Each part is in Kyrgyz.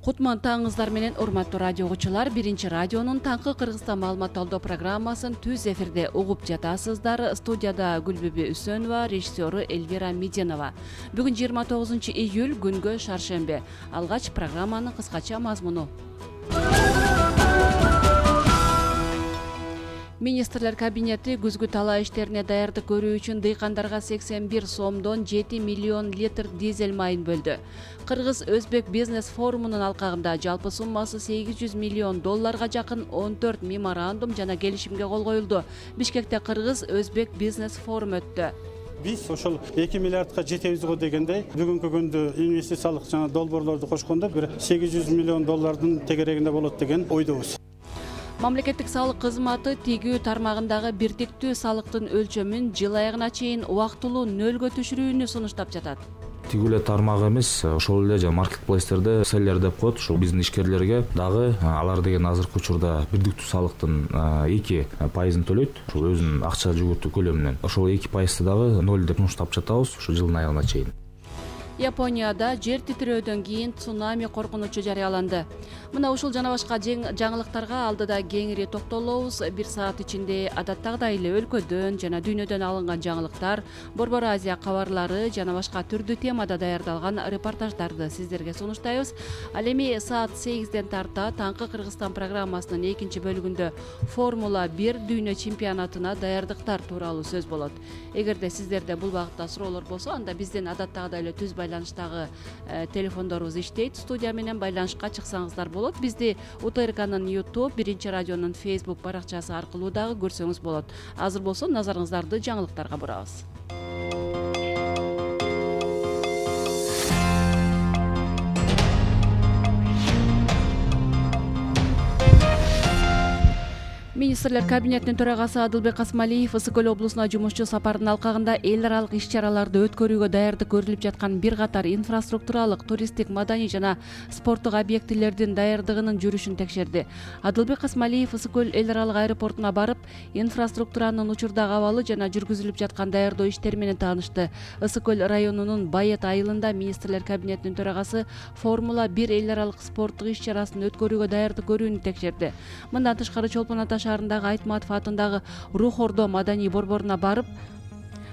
Кутман таңыңыздар менен урматтуу радио угуучулар, биринчи радионун таңкы Кыргызстан маалымат алуу программасын түз эфирде угуп жатасыздар. Студияда Гүлбүбү Үсөнова, режиссеру Эльвира Меденова. Бүгүн 29-июль, күнгө шаршембе. Алгач программанын кыскача мазмуну. Министрлер кабинети күзгү талаа иштерине даярдык көрүү үчүн дыйкандарга 81 сомдон 7 миллион литр дизель майын бөлдү. Кыргыз-Өзбек бизнес форумунун алкагында жалпы суммасы $800 миллион жакын 14 меморандум жана келишимге кол коюлду. Бишкекте Кыргыз-Өзбек бизнес форум өттү. Биз ошол 2 миллиардка жетебиз го дегендей, бүгүнкү күндө инвестициялык жана долбоорлорду кошкондо бир $800 миллион тегерегинде болот деген ойдобуз. Мамлекеттик салык кызматы тигүү тармагындагы бирдиктүү салыктын өлчөмүн жыл аягына чейин убактылуу нөлгө түшүрүүнү сунуштап жатат. Тигүү эле тармак эмес, ошол эле жана маркетплейстерде селлер деп коет. Ошол биздин ишкерлерге дагы алар деген азыркы учурда бирдиктүү салыктын 2% төлөйт. Ошол өзүнүн акча жүгүртүү көлөмүнөн. Ошол 2% дагы 0 деп сунуштап жатабыз ошол жылдын аягына чейин. Японияда жер титирөөдөн кийин цунами коркунучу жарыяланды. Мына ушул жана башка жаңылыктарга алдыда кеңири токтолобуз. Бир саат ичинде адаттагыдай эле өлкөдөн жана дүйнөдөн алынган жаңылыктар, Борбор Азия кабарлары жана башка түрдүү темада даярдалган репортаждарды сиздерге сунуштайбыз. Ал эми саат 8ден тарта таңкы Кыргызстан программасынын экинчи бөлүгүндө Формула 1 дүйнө чемпионатына даярдыктар тууралуу сөз болот. Эгерде сиздерде бул багытта суроолор болсо, анда бизден адаттагыдай эле түз байланыштагы телефондорубуз иштейт. Студия менен байланышка чыксаңыздар болот. Бизди УТРКнын YouTube, биринчи радионун Facebook баракчасы аркылуу дагы көрсөңүз болот. Азыр болсо назарыңыздарды жаңылыктарга бурабыз. Министрлер кабинетинин төрагасы Адылбек Касмалиев Ысык Көл облусуна жумушчу сапарынын алкагында эл аралык иш-чараларды өткөрүүгө даярдык көрүлүп жаткан бир катар инфраструктуралык, туристтик, маданий жана спорттук объектилердин даярдыгынын жүрүшүн текшерди. Адылбек Касмалиев Ысык Көл эл аралык аэропортуна барып, инфраструктуранын учурдагы абалы жана жүргүзүлүп жаткан даярдоо иштери менен таанышты. Ысык Көл районунун Байет айылында Министрлер кабинетинин төрагасы Формула 1 эл аралык спорттук иш-чарасын өткөрүүгө даярдык көрүүнү текшерди. Мындан тышкары Чолпон Ата шаарындагы Айтматов атындагы Рух Ордо маданий борборуна барып,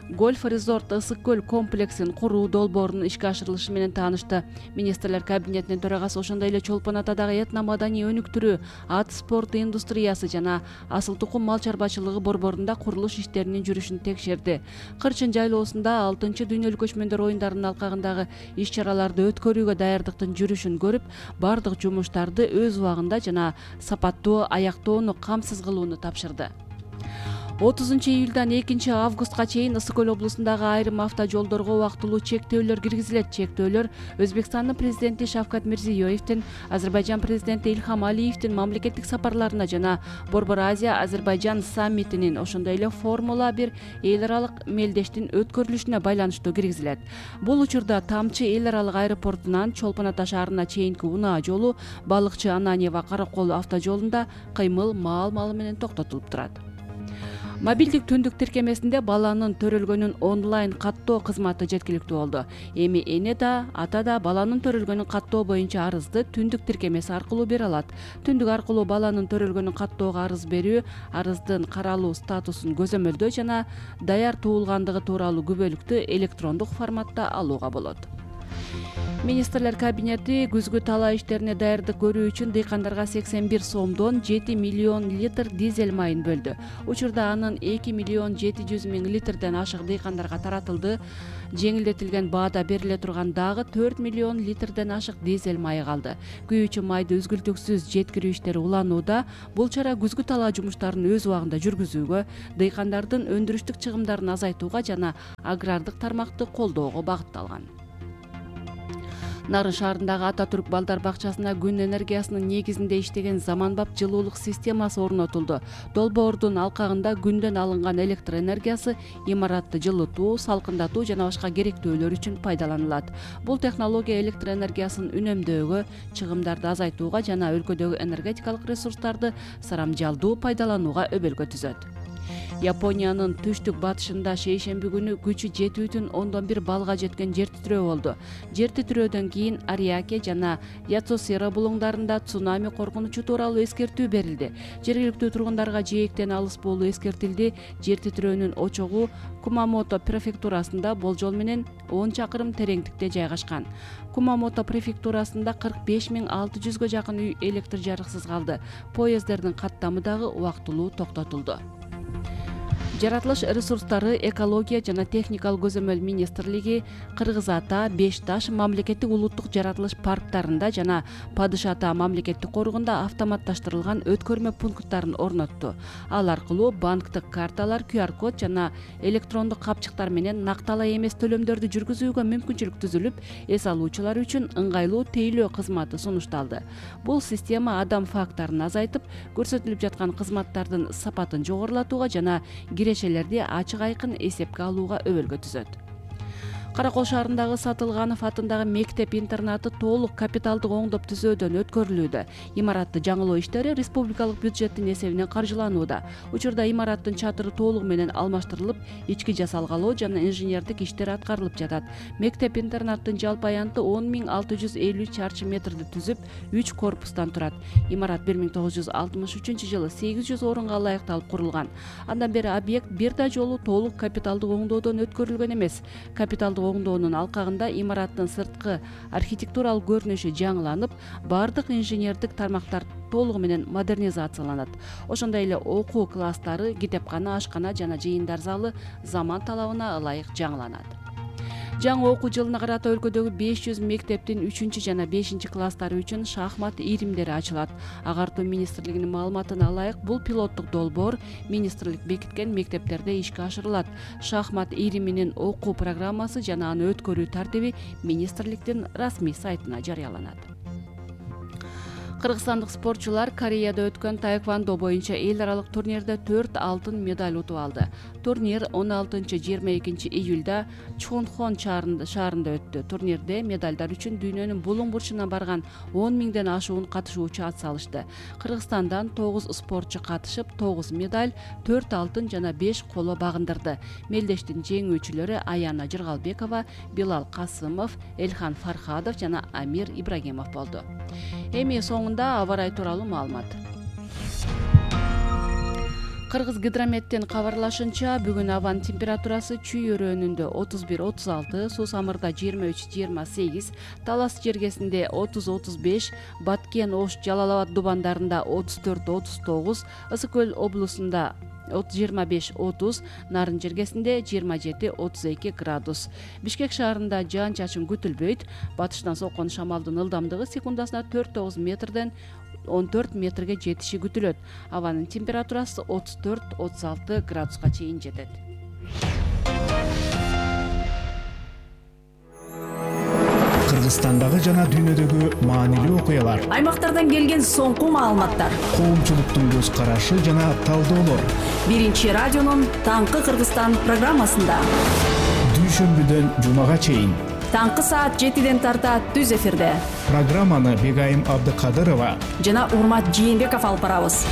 гольф-резорт Ысык Көл комплексин куруу долбоорунун ишке ашырылышы менен таанышты. Министрлер кабинетинин төрагасы ошондой эле Чолпон Атадагы этно-маданий өнүктүрүү, ат спорту индустриясы жана асыл тукум мал чарбачылыгы борборунда курулуш иштеринин жүрүшүн текшерди. Кырчын жайлоосунда 6-дүйнөлүк көчмөндөр оюндарынын алкагындагы иш-чараларды өткөрүүгө даярдыктын жүрүшүн көрүп, бардык жумуштарды өз убагында жана сапаттуу аяктоону камсыз кылууну тапшырды. 30-июлдан 2-августка чейин Ысык Көл облусундагы айрым автожолдорго убактылуу чектөөлөр киргизилет. Чектөөлөр Өзбекстандын президенти Шавкат Мирзиёевдин, Азербайжан президенти Ильхам Алиевдин мамлекеттик сапарларына жана Борбор Азия Азербайжан саммитинин, ошондой эле Формула 1 эл аралык мелдештин өткөрүлүшүнө байланыштуу киргизилет. Бул учурда Тамчы эл аралык аэропортунан Чолпон Ата шаарына чейинки унаа жолу Балыкчы Ананьева Каракол автожолунда кыймыл маал-малы менен токтотулуп турат. Мобилдик түндүк тиркемесинде баланын төрөлгөнүн онлайн каттоо кызматы жеткиликтүү болду. Эми эне да, ата да баланын төрөлгөнүн каттоо боюнча арызды түндүк тиркемеси аркылуу бере алат. Түндүк аркылуу баланын төрөлгөнүн каттоого арыз берүү, арыздын каралуу статусун көзөмөлдөө жана даяр туулгандыгы тууралуу күбөлүктү электрондук форматта алууга болот. Министрлер кабинети күзгү талаа иштерине даярдык көрүү үчүн дыйкандарга 81 сомдон 7 миллион литр дизель майын бөлдү. Учурда анын 2 миллион 700 миң литрден ашык дыйкандарга таратылды. Жеңилдетилген баада бериле турган дагы 4 миллион литрден ашык дизель майы калды. Күйүүчү майды үзгүлтүксүз жеткирүү иштери уланууда. Бул чара күзгү талаа жумуштарын өз убагында жүргүзүүгө, дыйкандардын өндүрүштүк чыгымдарын азайтууга жана агрардык тармакты колдоого багытталган. Нарын шаарындагы Ататүрк балдар бакчасына күн энергиясынын негизинде иштеген заманбап жылуулук системасы орнотулду. Долбоордун алкагында күндөн алынган электр энергиясы имаратты жылытуу, салкындатуу жана башка керектөөлөр үчүн пайдаланылат. Бул технология электр энергиясын үнөмдөөгө, чыгымдарды азайтууга жана өлкөдөгү энергетикалык ресурстарды сарамжалдуу пайдаланууга өбөлгө түзөт. Япониянын түштүк батышында шейшемби күнү күчү 7,1 баллга жеткен жер титирөө болду. Жер титирөөдөн кийин Ариаке жана Яцусира булуңдарында цунами коркунучу тууралуу эскертүү берилди. Жергиликтүү тургундарга жээктен алыс болуу эскертилди. Жер титирөөнүн очогу Кумамото префектурасында болжол менен 10 чакырым тереңдикте жайгашкан. Кумамото префектурасында 45,600 жакын үй электр жарыксыз калды. Поезддердин каттамы дагы убактылуу токтотулду. Жаратылыш ресурстары, экология жана техникалык көзөмөл министрлиги Кыргыз Ата, Беш Таш мамлекеттик улуттук жаратылыш парктарында жана Падыш Ата мамлекеттик коргунда автоматташтырылган өткөрмө пункттарын орнотту. Ал аркылуу банктык карталар, QR-код жана электрондук капчыктар менен накталай эмес төлөмдөрдү жүргүзүүгө мүмкүнчүлүк түзүлүп, эс алуучулар үчүн ыңгайлуу тейлөө кызматы сунушталды. Бул система адам фактарын азайтып, көрсөтүлүп жаткан кызматтардын сапатын жогорулатууга жана кирешелерди ачык айкын эсепке алууга өбөлгө түзөт. Каракол шаарындагы Сатылганов атындагы мектеп-интернаты толук капиталдык оңдоп түзөөдөн өткөрүлүүдө. Имаратты жаңылоо иштери республикалык бюджеттин эсебинен каржыланууда. Учурда имараттын чатыры толугу менен алмаштырылып, ички жасалгалоо жана инженердик иштер аткарылып жатат. Мектеп-интернаттын жалпы аянты 10,650 чарчы метрди түзүп, 3 корпустан турат. Имарат 1963-жылы 800 орунга ылайыкталып курулган. Андан бери объект бир да жолу толук капиталдык оңдоодон өткөрүлгөн эмес. Капиталдык оңдоонун алкагында имараттын сырткы архитектуралык көрүнүшү жаңыланып, бардык инженердик тармактар толугу менен модернизацияланат. Ошондой эле окуу класстары, китепкана, ашкана жана жыйындар залы заман талабына ылайык жаңыланат. Жаңы окуу жылына карата өлкөдөгү 500 мектептин 3 жана 5 класстары үчүн шахмат иримдери ачылат. Агартуу министрлигинин маалыматына ылайык, бул пилоттук долбоор министрлик бекиткен мектептерде ишке ашырылат. Шахмат ириминин окуу программасы жана аны өткөрүү тартиби министрликтин расмий сайтына жарыяланат. Кыргызстандык спортчулар Кореяда өткөн таэквондо боюнча эл аралык турнирде 4 алтын медаль утуп алды. Турнир 16-22 июлда Чхонхон шаарында өттү. Турнирде медалдар үчүн дүйнөнүн булуң бурчуна барган 10 миңден ашуун катышуучу ат салышты. Кыргызстандан 9 спортчу катышып, 9 медаль, 4 алтын жана 5 коло багындырды. Мелдештин жеңүүчүлөрү Аяна Жыргалбекова, Билал Касымов, Элхан Фархадов жана Амир Ибрагимов болду. Эми соңунда аба ырайы тууралуу маалымат. Кыргыз гидрометтин кабарлашынча, бүгүн абанын температурасы Чүй өрөөнүндө 31-36, Сусамырда 23-28, Талас жергесинде 30-35, Баткен, Ош, Жалал Абад дубандарында 34-39, Ысык Көл облусунда 25-30, Нарын жергесинде 27-32 градус. Бишкек шаарында жаан-чачын күтүлбөйт. Батыштан соккон шамалдын ылдамдыгы секундасына 4-9 метрден 14 метрге жетиши күтүлөт. Абанын температурасы 34-36 градуска чейин жетет. Кыргызстандагы жана дүйнөдөгү маанилүү окуялар, аймактардан келген соңку маалыматтар, коомчулуктун көз карашы жана талдоолор. Биринчи радионун Таңкы Кыргызстан программасында дүйшөмбүдөн жумага чейин таңкы саат 7ден тарта түз эфирде программаны Бегайым Абдыкадырова жана Урмат Жээнбеков алып барабыз.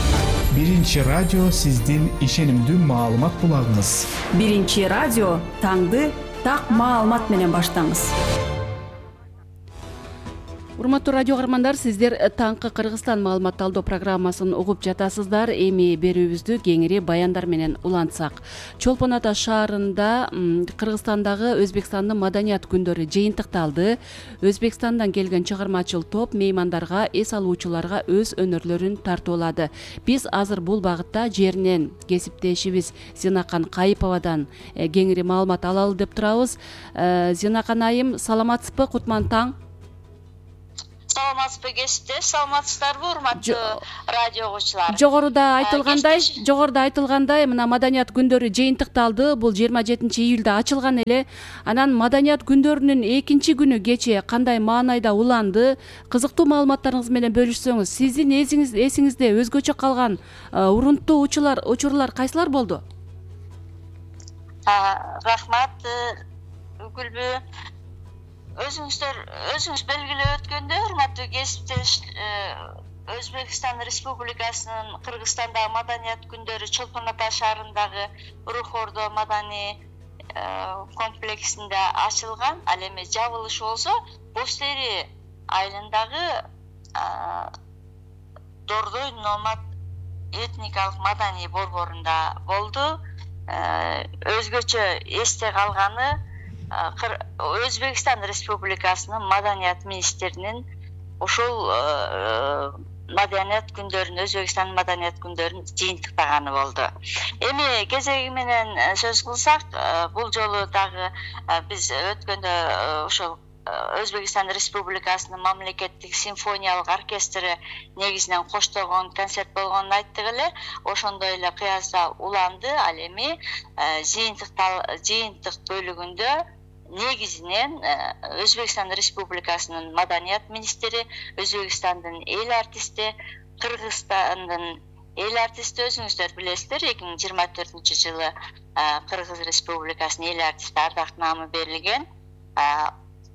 Биринчи радио сиздин ишенимдүү маалымат булагыңыз. Биринчи радио таңды так маалымат менен баштаңыз. Урматтуу радио каармандар, сиздер Таңкы Кыргызстан маалымат талдоо программасын угуп жатасыздар. Эми берүүбүздү кеңири баяндар менен улантсак. Чолпон Ата шаарында Кыргызстандагы Өзбекстандын маданият күндөрү жыйынтыкталды. Өзбекстандан келген чыгармачыл топ меймандарга, эс алуучуларга өз өнөрлөрүн тартуулады. Биз азыр бул багытта жеринен кесиптешибиз Зинакан Кайыповадан кеңири маалымат алалы деп турабыз. Зинакан айым, саламатсызбы? Кутман таң. Саламатсызбы кесиптеш, саламатсыздарбы урматтуу радио угуучулар? Жогоруда айтылгандай, мына маданият күндөрү жыйынтыкталды. Бул 27 июлда ачылган эле. Анан маданият күндөрүнүн экинчи күнү кечээ кандай маанайда уланды? Кызыктуу маалыматтарыңыз менен бөлүшсөңүз, сиздин эсиңизде өзгөчө калган урунттуу учурлар кайсылар болду? Рахмат, Гүлбү. Өзүңүз белгилеп өткөндөй, урматтуу кесиптеш, Өзбекстан Республикасынын Кыргызстандагы маданият күндөрү Чолпон Ата шаарындагы Рух Ордо маданий комплексинде ачылган. Ал эми жабылышы болсо Бостери айылындагы Дордой Номад этникалык маданий борборунда болду. Өзгөчө эсте калганы Өзбекстан Республикасынын маданият министринин ошол маданият күндөрүн, Өзбекстандын маданият күндөрүн жыйынтыктаганы болду. Эми кезеги менен сөз кылсак, бул жолу дагы биз өткөндө ошол Өзбекстан Республикасынын мамлекеттик симфониялык оркестри негизинен коштогон концерт болгонун айттык эле. Ошондой эле кыязда уланды. Ал эми жыйынтык бөлүгүндө негизинен Өзбекстан Республикасынын маданият министри, Өзбекстандын эл артисти, Кыргызстандын эл артисти, өзүңүздөр билесиздер, 2024-жылы Кыргыз Республикасынын эл артисти ардак наамы берилген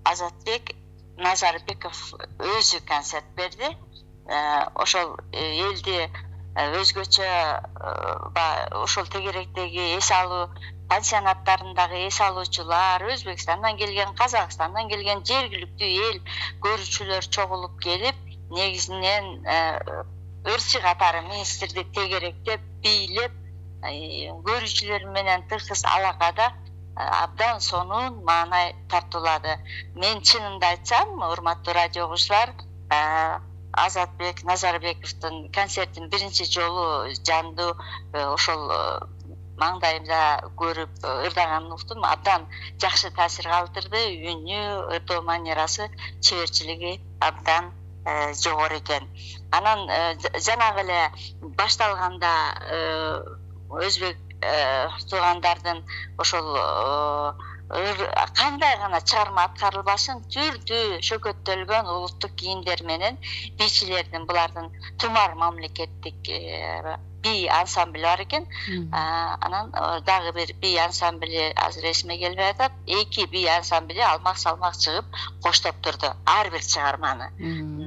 Азатбек Назарбеков өзү концерт берди. Ошол элди өзгөчө ошол тегеректеги эс алуу пансионаттарындагы эс алуучулар, Өзбекстандан келген, Казакстандан келген жергиликтүү эл көрүүчүлөр чогулуп келип, негизинен ырчы катары министрди тегеректеп, бийлеп, көрүүчүлөр менен тыгыз алакада абдан сонун маанай тартуулады. Мен чынымды айтсам, урматтуу радио угуучулар, Азатбек Назарбековдун концертин биринчи жолу жандуу ошол маңдайымда көрүп ырдаганын уктум. Абдан жакшы таасир калтырды. Үнү, ырдоо манерасы, чеберчилиги абдан жогору экен. Анан жанагы эле башталганда өзбек туугандардын ошол кандай гана чыгарма аткарылбасын, түрдүү шөкөттөлгөн улуттук кийимдер менен бийчилердин, булардын Тумар мамлекеттик бий ансамбли бар экен. Анан дагы бир бий ансамбли азыр эсиме келбей атат. 2 бий ансамбли алмак-салмак чыгып коштоп турду ар бир чыгарманы.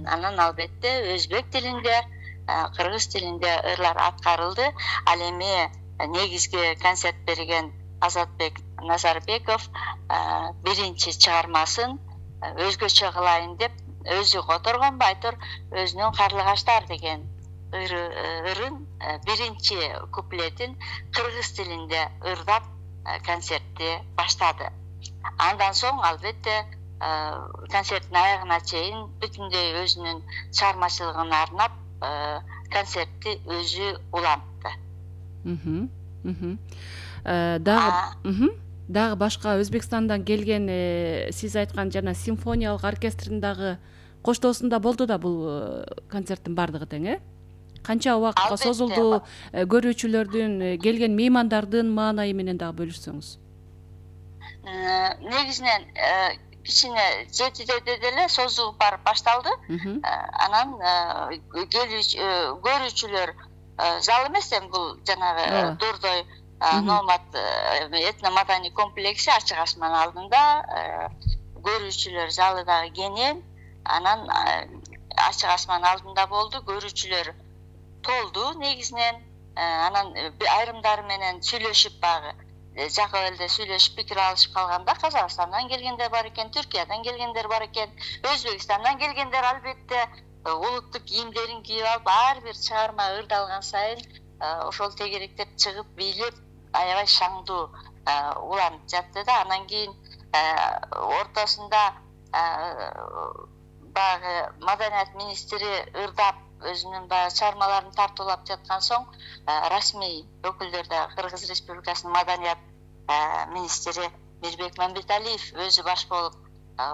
Анан албетте өзбек тилинде, кыргыз тилинде ырлар аткарылды. Ал эми негизги концерт берген Азатбек Назарбеков биринчи чыгармасын өзгөчө кылайын деп өзү которгон байтур өзүнүн Карлыгаштар деген ырын биринчи куплетин кыргыз тилинде ырдап концертти баштады. Андан соң албетте концерттин аягына чейин бүтүндөй өзүнүн чыгармачылыгына арнап концертти өзү улантты. Дагы башка Өзбекстандан келген сиз айткан жана симфониялык оркестрдин дагы коштоосунда болду да бул концерттин бардыгы тең, канча убакытка созулду? Көрүүчүлөрдүн, келген меймандардын маанайы менен дагы бөлүшсөңүз. Негизинен кичине 7-де деле созулуп барып башталды. Анан көрүүчүлөр зал эмес, бул жанагы Дордой Номад этно-маданий комплекси ачык асман алдында көрүүчүлөр залы дагы кенен. Анан ачык асман алдында болду, көрүүчүлөр толду негизинен. Анан айрымдары менен сүйлөшүп багы жакып элде сүйлөшүп пикир алышып калганда Казакстандан келгендер бар экен, Түркиядан келгендер бар экен, Өзбекстандан келгендер албетте улуттук кийимдерин кийип алып, ар бир чыгарма ырдалган сайын ошол тегеректеп чыгып бийлеп аябай шаңдуу уланып жатты да. Анан кийин ортосунда баягы маданият министри ырдап өзүнүн баягы чыгармаларын тартуулап жаткан соң расмий өкүлдөр да Кыргыз Республикасынын маданият министри Мирбек Мамбеталиев өзү баш болуп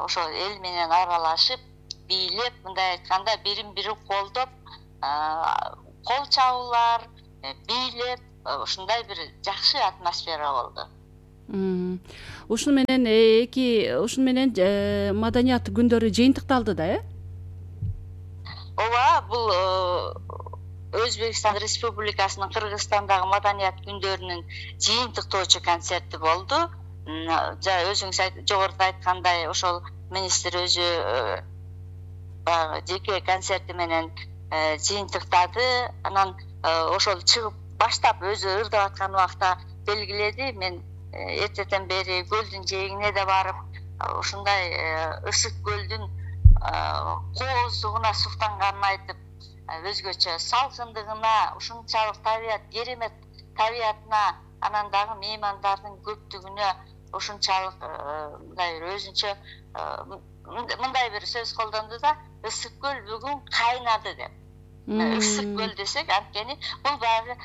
ошол эл менен аралашып, бийлеп, мындай айтканда бирин-бири колдоп, кол чабуулар, бийлеп, ушундай бир жакшы атмосфера болду. Ушун менен маданият күндөрү жыйынтыкталды да, Ооба, бул Өзбекстан Республикасынын Кыргызстандагы маданият күндөрүнүн жыйынтыктоочу концерти болду. Өзүңүз жогоруда айткандай, ошол министр өзү жеке концерти менен жыйынтыктады. Анан ошол чыгып баштап өзү ырдап аткан убакта белгиледи. Мен эртеден бери көлдүн жээгине да барып, ушундай ысык көлдүн кооздугуна суктанганын айтып, өзгөчө салкындыгына, ушунчалык керемет табиятына, анан дагы меймандардын көптүгүнө ушунчалык мындай бир өзүнчө мындай бир сөз колдонду да, ысык көл бүгүн кайнады деп. Ысык көл десек, анткени бул баягы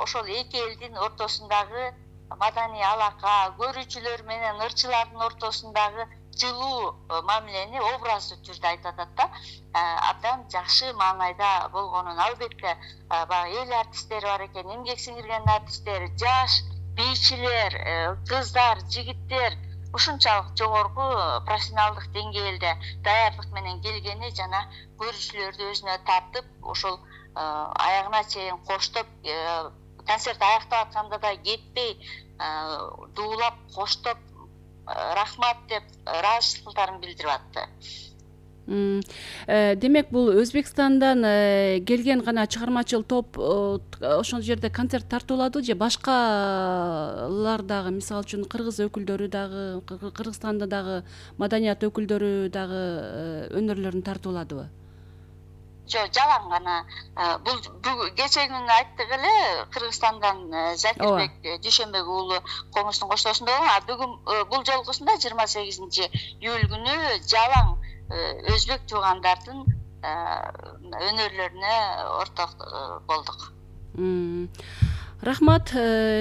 ошол эки элдин ортосундагы маданий алака, көрүүчүлөр менен ырчылардын ортосундагы жылуу мамилени образдуу түрдө айтып атат да. Абдан жакшы маанайда болгонун, албетте баягы эл артисттери бар экен, эмгек сиңирген артисттер, жаш бийчилер, кыздар, жигиттер ушунчалык жогорку профессионалдык деңгээлде даярдык менен келгени жана көрүүчүлөрдү өзүнө тартып, ошол аягына чейин коштоп, концерт аяктап атканда да кетпей дуулап, коштоп, рахмат деп ыраазычылыктарын билдирип атты. Демек, бул Өзбекстандан келген гана чыгармачыл топ ошол жерде концерт тартууладыбы же башкалар дагы, мисалы үчүн кыргыз өкүлдөрү дагы, Кыргызстанда дагы маданият өкүлдөрү дагы өнөрлөрүн тартууладыбы? Жок, жалаң гана. Бул кече күнү айттык эле, Кыргызстандан Закирбек Дүйшөнбек уулу Комуштун коштоосунда болгон. Бүгүн бул жолкусунда 28 июль күнү жалаң өзбек туугандардын өнөрлөрүнө орток болдук. Рахмат,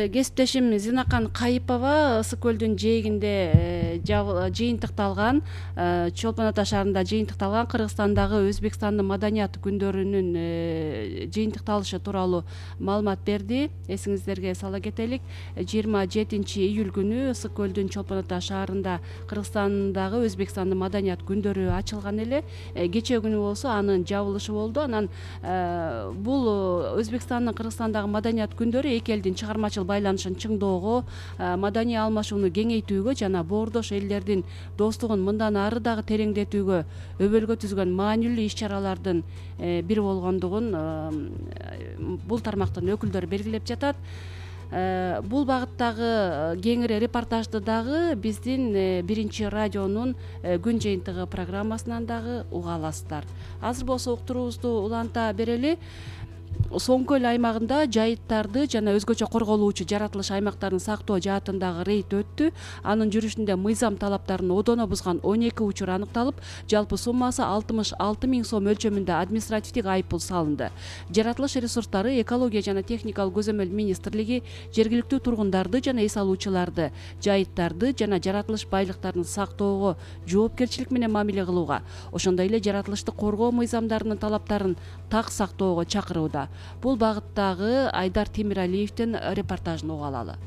кесиптешим Зинакан Кайыпова ысык көлдүн жээгинде жыйынтыкталган, Чолпон Ата шаарында жыйынтыкталган Кыргызстандагы Өзбекстандын маданият күндөрүнүн жыйынтыкталышы тууралуу маалымат берди. Эсиңиздерге сала кетелик, 27 июль күнү ысык көлдүн Чолпон Ата шаарында Кыргызстандагы Өзбекстандын маданият күндөрү ачылган эле. Кечээ күнү болсо анын жабылышы болду. Анан бул Өзбекстандын Кыргызстандагы маданият күндөрү эки элдин чыгармачыл байланышын чыңоого, маданий алмашууну кеңейтүүгө жана боордош элдердин достугун мындан ары дагы тереңдетүүгө өбөлгө түзгөн маанилүү иш-чаралардын бири болгондугун бул тармактын өкүлдөрү белгилеп жатат. Бул багыттагы кеңири репортажды дагы биздин биринчи радионун күн жыйынтыгы программасынан дагы уга аласыздар. Азыр болсо уктуруубузду уланта берели. Соң көл аймагында жайыттарды жана өзгөчө корголуучу жаратылыш аймактарын сактоо жаатындагы рейд өттү. Анын жүрүшүндө мыйзам талаптарын одоно бузган 12 учур аныкталып, жалпы суммасы 66 000 сом өлчөмүндө административдик айыппул салынды. Жаратылыш ресурстары, экология жана техникалык көзөмөл министрлиги жергиликтүү тургундарды жана эс алуучуларды жайыттарды жана жаратылыш байлыктарын сактоого жоопкерчилик менен мамиле кылууга, ошондой эле жаратылышты коргоо мыйзамдарынын талаптарын так сактоого чакырууда. Бул багыттагы Айдар Темиралиевдин репортажын уга алалы.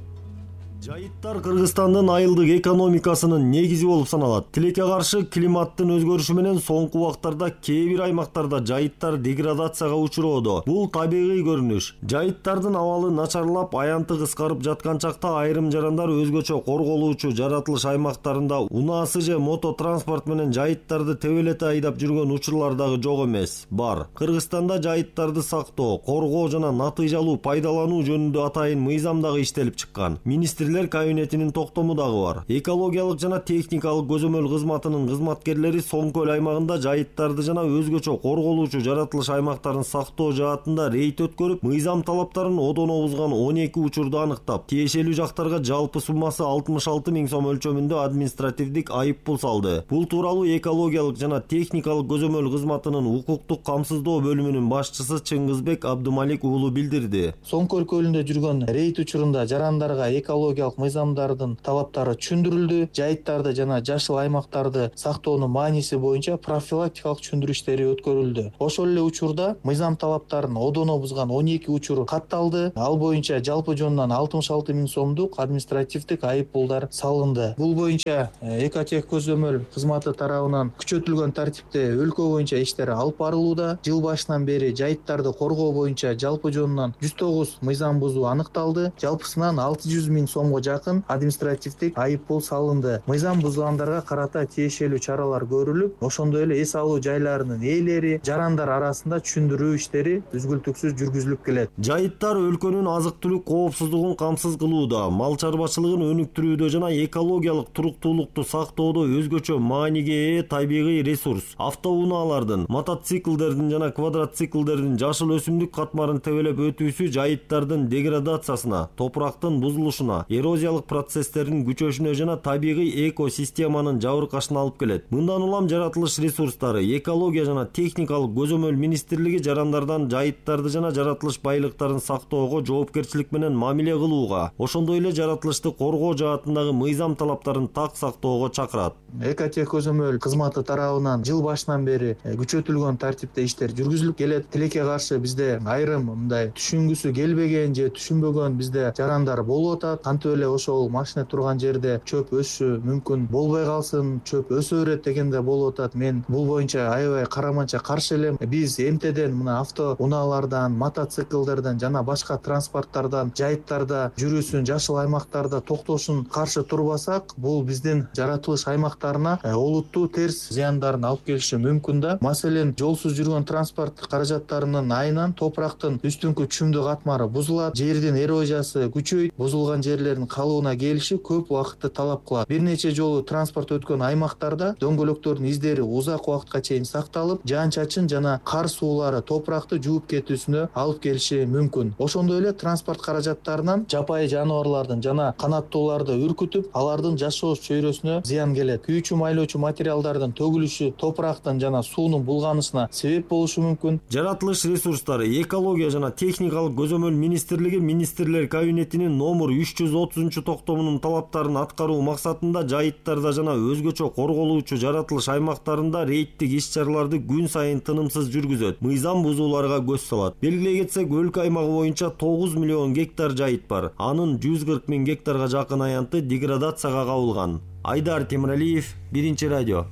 Жайыттар Кыргызстандын айылдык экономикасынын негизи болуп саналат. Тилекке каршы климаттын өзгөрүшү менен соңку убактарда кээ бир аймактарда жайыттар деградацияга учуроодо. Бул табигый көрүнүш. Жайыттардын абалы начарлап, аянты кыскарып жаткан чакта айрым жарандар өзгөчө корголуучу жаратылыш аймактарында унаасы же мото транспорт менен жайыттарды тебелете айдап жүргөн учурлар дагы жок эмес. Бар. Кыргызстанда жайыттарды сактоо, коргоо жана натыйжалуу пайдалануу жөнүндө атайын мыйзам дагы иштелип чыккан. Кабинетинин токтому дагы бар. Экологиялык жана техникалык көзөмөл кызматынын кызматкерлери Соң көл аймагында жайыттарды жана өзгөчө корголуучу жаратылыш аймактарын сактоо жаатында рейд өткөрүп, мыйзам талаптарын одоно бузган 12 учурду аныктап, тиешелүү жактарга жалпы суммасы 66 000 сом өлчөмүндө административдик айыппул салды. Бул тууралуу экологиялык жана техникалык көзөмөл кызматынын укуктук камсыздоо бөлүмүнүн башчысы Чыңгызбек Абдымалик уулу билдирди. Соң көл көлүндө жүргөн рейд учурунда жарандарга экология мыйзамдардын талаптары түшүндүрүлдү. Жайыттарды жана жашыл аймактарды сактоонун мааниси боюнча профилактикалык түшүндүрүү иштери өткөрүлдү. Ошол эле учурда мыйзам талаптарын одоно бузган 12 учур катталды. Ал боюнча жалпы жонунан 66 000 сомдук административдик айыппулдар салынды. Бул боюнча Экотех көзөмөл кызматы тарабынан күчөтүлгөн тартипте өлкө боюнча иштер алып барылууда. Жыл башынан бери жайыттарды коргоо боюнча жалпы жонунан 109 мыйзам бузуу аныкталды. Жалпысынан 600 000 сом сомго жакын административдик айып пул салынды. Мыйзам бузгандарга карата тиешелүү чаралар көрүлүп, ошондой эле эс алуу жайларынын ээлери, жарандар арасында түшүндүрүү иштери үзгүлтүксүз жүргүзүлүп келет. Жайыттар өлкөнүн азык-түлүк коопсуздугун камсыз кылууда, мал чарбачылыгын өнүктүрүүдө жана экологиялык туруктуулукту сактоодо өзгөчө мааниге ээ табигый ресурс. Автоунаалардын, мотоциклдердин жана квадроциклдердин жашыл өсүмдүк катмарын тебелеп өтүүсү жайыттардын деградациясына, топурактын бузулушуна, эрозиялык процесстердин күчөшүнө жана табигый экосистеманын жабыркашына алып келет. Мындан улам жаратылыш ресурстары, экология жана техникалык көзөмөл министрлиги жарандардан жайыттарды жана жаратылыш байлыктарын сактоого жоопкерчилик менен мамиле кылууга, ошондой эле жаратылышты коргоо жаатындагы мыйзам талаптарын так сактоого чакырат. Экотех көзөмөл кызматы тарабынан жыл башынан бери күчөтүлгөн тартипте иштер жүргүзүлүп келет. Тилекке каршы бизде айрым мындай түшүнгүсү келбеген же түшүнбөгөн бизде жарандар болуп атат. Кантип эле ошол машина турган жерде чөп өсүшү мүмкүн болбой калсын, чөп өсө берет дегенде болуп атат. Мен бул боюнча аябай караманча каршы элем. Биз эмтеден мына автоунаалардан, мотоциклдерден жана башка транспорттардан жайыттарда жүрүүсүн, жашыл аймактарда токтошун каршы турбасак, бул биздин жаратылыш аймактарына олуттуу терс зыяндарын алып келиши мүмкүн да. Маселен, жолсуз жүргөн транспорт каражаттарынын айынан топурактын үстүнкү чүмдү катмары бузулат, жердин эрозиясы күчөйт, бузулган жерлердин калыбына келиши көп убакытты талап кылат. Бир нече жолу транспорт өткөн аймактарда дөңгөлөктөрдүн издери узак убакытка чейин сакталып, жаан-чачын жана кар суулары топуракты жууп кетүүсүнө алып келиши мүмкүн. Ошондой эле транспорт каражаттарынан жапайы жаныбарлардын жана канаттууларды үркүтүп, алардын жашоо чөйрөсүнө зыян келет. Күйүүчү майлоочу материалдардын төгүлүшү топурактын жана суунун булганышына себеп болушу мүмкүн. Жаратылыш ресурстары, экология жана техникалык көзөмөл министрлиги министрлер кабинетинин номер 330 токтомунун талаптарын аткаруу максатында жайыттарда жана өзгөчө корголуучу жаратылыш аймактарында рейдтик иш-чараларды күн сайын тынымсыз жүргүзөт. Мыйзам бузууларга көз салат. Белгилей кетсек, өлкө аймагы боюнча 9 миллион гектар жайыт бар. Анын 140 миң гектарга жакын аянты деградацияга кабылган. Айдар Темиралиев, Биринчи радио.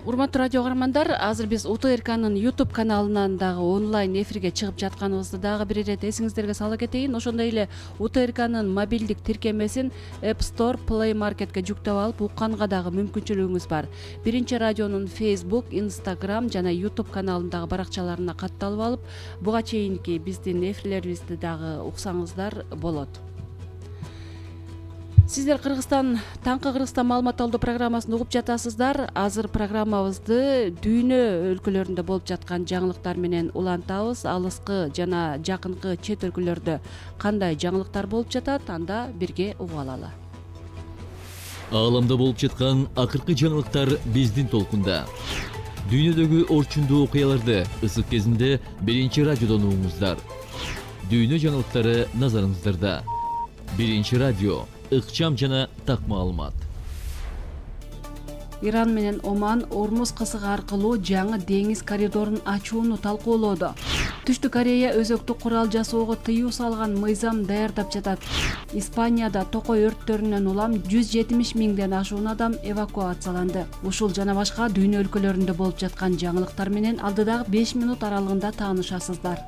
Урматтуу радио каармандар, азыр биз УТРКнын YouTube каналынан дагы онлайн эфирге чыгып жатканыбызды дагы бир ирет эсиңиздерге сала кетейин. Ошондой эле УТРКнын мобилдик тиркемесин App Store, Play Marketке жүктөп алып укканга дагы мүмкүнчүлүгүңүз бар. Биринчи радионун Facebook, Instagram жана YouTube каналындагы баракчаларына катталып алып, буга чейинки биздин эфирлерибизди дагы уксаңыздар болот. Сиздер Таңкы Кыргызстан маалымат алуу программасын угуп жатасыздар. Азыр программабызды дүйнө өлкөлөрүндө болуп жаткан жаңылыктар менен улантабыз. Алыскы жана жакынкы чет өлкөлөрдө кандай жаңылыктар болуп жатат, анда бирге угуп алалы. Ааламда болуп жаткан акыркы жаңылыктар биздин толкунда. Дүйнөдөгү орчундуу окуяларды ысык кезинде Биринчи радиодон угуңуздар. Дүйнө жаңылыктары назарыңыздарда. Биринчи радио, ыкчам жана так маалымат. Иран менен Оман Ормуз кысыгы аркылуу жаңы деңиз коридорун ачууну талкуулоодо. Түштүк Корея өзөктүк курал жасоого тыюу салган мыйзам даярдап жатат. Испанияда токой өрттөрүнөн улам 170 миңден ашуун адам эвакуацияланды. Ушул жана башка дүйнө өлкөлөрүндө болуп жаткан жаңылыктар менен алдыдагы 5 минут аралыгында таанышасыздар.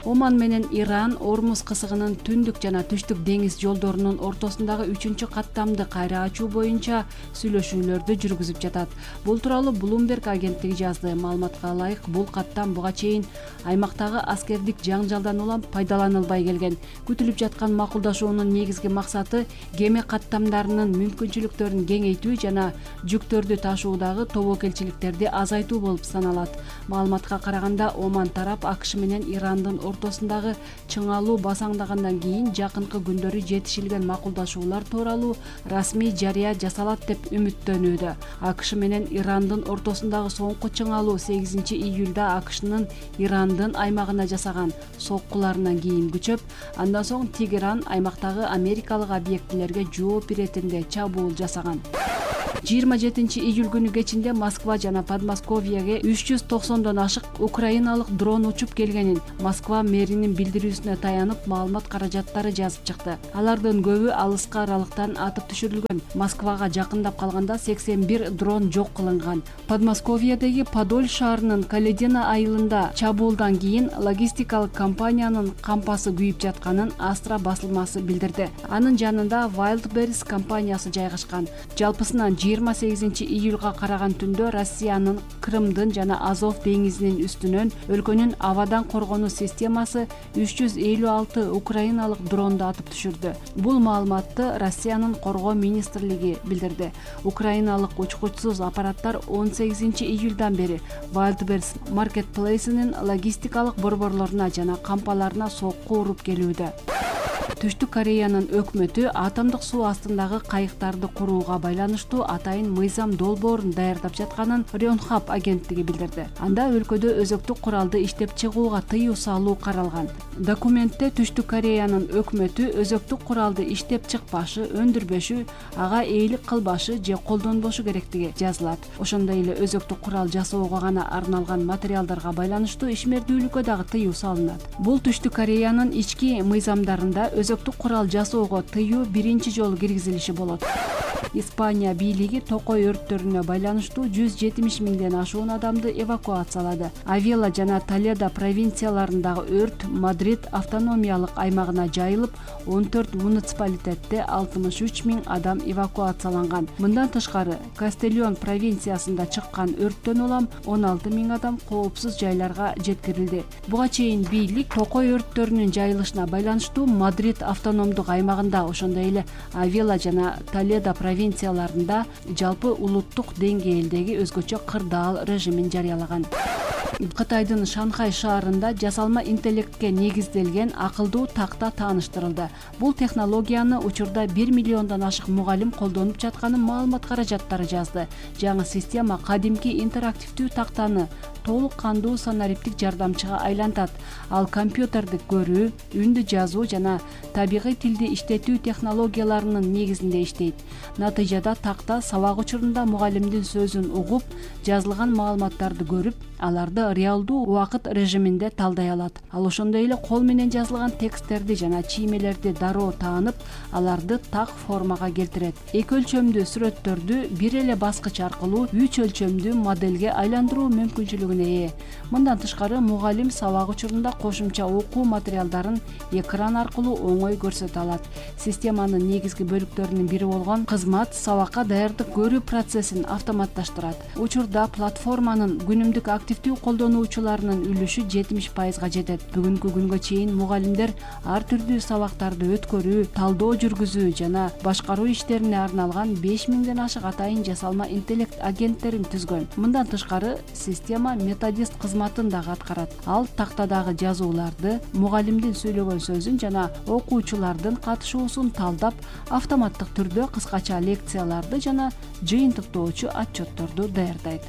Оман менен Иран Ормуз кысыгынын түндүк жана түштүк деңиз жолдорунун ортосундагы 3-чү каттамды кайра ачуу боюнча сүйлөшүүлөрдү жүргүзүп жатат. Бул тууралуу Bloomberg агенттиги жазды. Маалыматка ылайык, бул каттам буга чейин аймактагы аскердик жаңжалдан улам пайдаланылбай келген. Күтүлүп жаткан макулдашуунун негизги максаты кеме каттамдарынын мүмкүнчүлүктөрүн кеңейтүү жана жүктөрдү ташуудагы тобокелчиликтерди азайтуу болуп саналат. Маалыматка караганда, Оман тарап АКШ менен Ирандын ортосундагы чыңалуу басаңдагандан кийин жакынкы күндөрү жетишилген макулдашуулар тууралуу расмий жарыя жасалат деп үмүттөнүүдө. АКШ менен Ирандын ортосундагы соңку чыңалуу 8 июлда АКШнын Ирандын аймагына жасаган соккуларынан кийин күчөп, андан соң Тегеран аймактагы америкалык объектилерге жооп иретинде чабуул жасаган. 27-июль күнү кечинде Москва жана Подмосковьеге 390дон ашык украиналык дрон учуп келгенин Москва мэринин билдирүүсүнө таянып маалымат каражаттары жазып чыкты. Алардын көбү алыскы аралыктан атып түшүрүлгөн. Москвага жакындап калганда 81 дрон жок кылынган. Подмосковьедеги Подоль шаарынын Каледина айылында чабуулдан кийин логистикалык компаниянын кампасы күйүп жатканын Астра басылмасы билдирди. Анын жанында Wildberries компаниясы жайгашкан. Жалпысынан 28-июлга караган түндө Россиянын Крымдын жана Азов деңизинин үстүнөн өлкөнүн абадан коргонуу системасы 356 украиналык дронду атып түшүрдү. Бул маалыматты Россиянын коргоо министрлиги билдирди. Украиналык учкучсуз аппараттар 18-июлдан бери Wildberries Marketplace'инин логистикалык борборлоруна жана кампаларына сокку уруп келүүдө. Түштүк Кореянын өкмөтү атомдук суу астындагы кайыктарды курууга байланыштуу атайын мыйзам долбоорун даярдап жатканын Рёнхап агенттиги билдирди. Анда өлкөдө өзөктүк куралды иштеп чыгууга тыюу салуу каралган. Документте Түштүк Кореянын өкмөтү өзөктүк куралды иштеп чыкпашы, өндүрбөшү, ага ээлик кылбашы же колдонбошу керектиги жазылат. Ошондой эле өзөктүк курал жасоого гана арналган материалдарга байланыштуу ишмердүүлүккө дагы тыюу салынат. Бул Түштүк Кореянын ички мыйзамдарында өзөктүк курал жасоого тыюу биринчи жолу киргизилиши болот. Испания бийлиги токой өрттөрүнө байланыштуу 170 миңден ашуун адамды эвакуациялады. Авела жана Толедо провинцияларындагы өрт Мадрид автономиялык аймагына жайылып, 14 муниципалитетте 63 миң адам эвакуацияланган. Мындан тышкары, Кастельон провинциясында чыккан өрттөн улам 16 миң адам коопсуз жайларга жеткирилди. Буга чейин бийлик токой өрттөрүнүн жайылышына байланыштуу Мадрид автономдук аймагында, ошондой эле Авела жана Толедо провинцияларында жалпы улуттук деңгээлдеги өзгөчө кырдаал режимин жарыялаган. Кытайдын Шанхай шаарында жасалма интеллектке негизделген акылдуу такта тааныштырылды. Бул технологияны учурда 1 миллиондон ашык мугалим колдонуп жатканын маалымат каражаттары жазды. Жаңы система кадимки интерактивдүү тактаны толук кандуу санариптик жардамчыга айлантат. Ал компьютерди көрүү, үндү жазуу жана табигый тилди иштетүү технологияларынын негизинде иштейт. Натыйжада такта сабак учурунда мугалимдин сөзүн угуп, жазылган маалыматтарды көрүп, аларды реалдуу убакыт режиминде талдай алат. Ал ошондой эле кол менен жазылган тексттерди жана чиймелерди дароо таанып, аларды так формага келтирет. Эки өлчөмдүү сүрөттөрдү бир эле баскыч аркылуу 3 өлчөмдүү модельге айландыруу мүмкүнчүлүгүнө ээ. Мындан тышкары, мугалим сабак учурунда кошумча окуу материалдарын экран аркылуу оңой көрсөтө алат. Системанын негизги бөлүктөрүнүн бири болгон кызмат сабакка даярдык көрүү процессин автоматташтырат. Учурда платформанын күнүмдүк активдүү колдонуучуларынын үлүшү 70%га жетет. Бүгүнкү күнгө чейин мугалимдер ар түрдүү сабактарды өткөрүү, талдоо жүргүзүү жана башкаруу иштерине арналган 5000ден ашык атайын жасалма интеллект агенттерин түзгөн. Мындан тышкары, система методист кызматын дагы аткарат. Ал тактадагы жазууларды, мугалимдин сүйлөгөн сөзүн жана окуучулардын катышуусун талдап, автоматтык түрдө кыскача лекцияларды жана жыйынтыктоочу отчетторду даярдайт.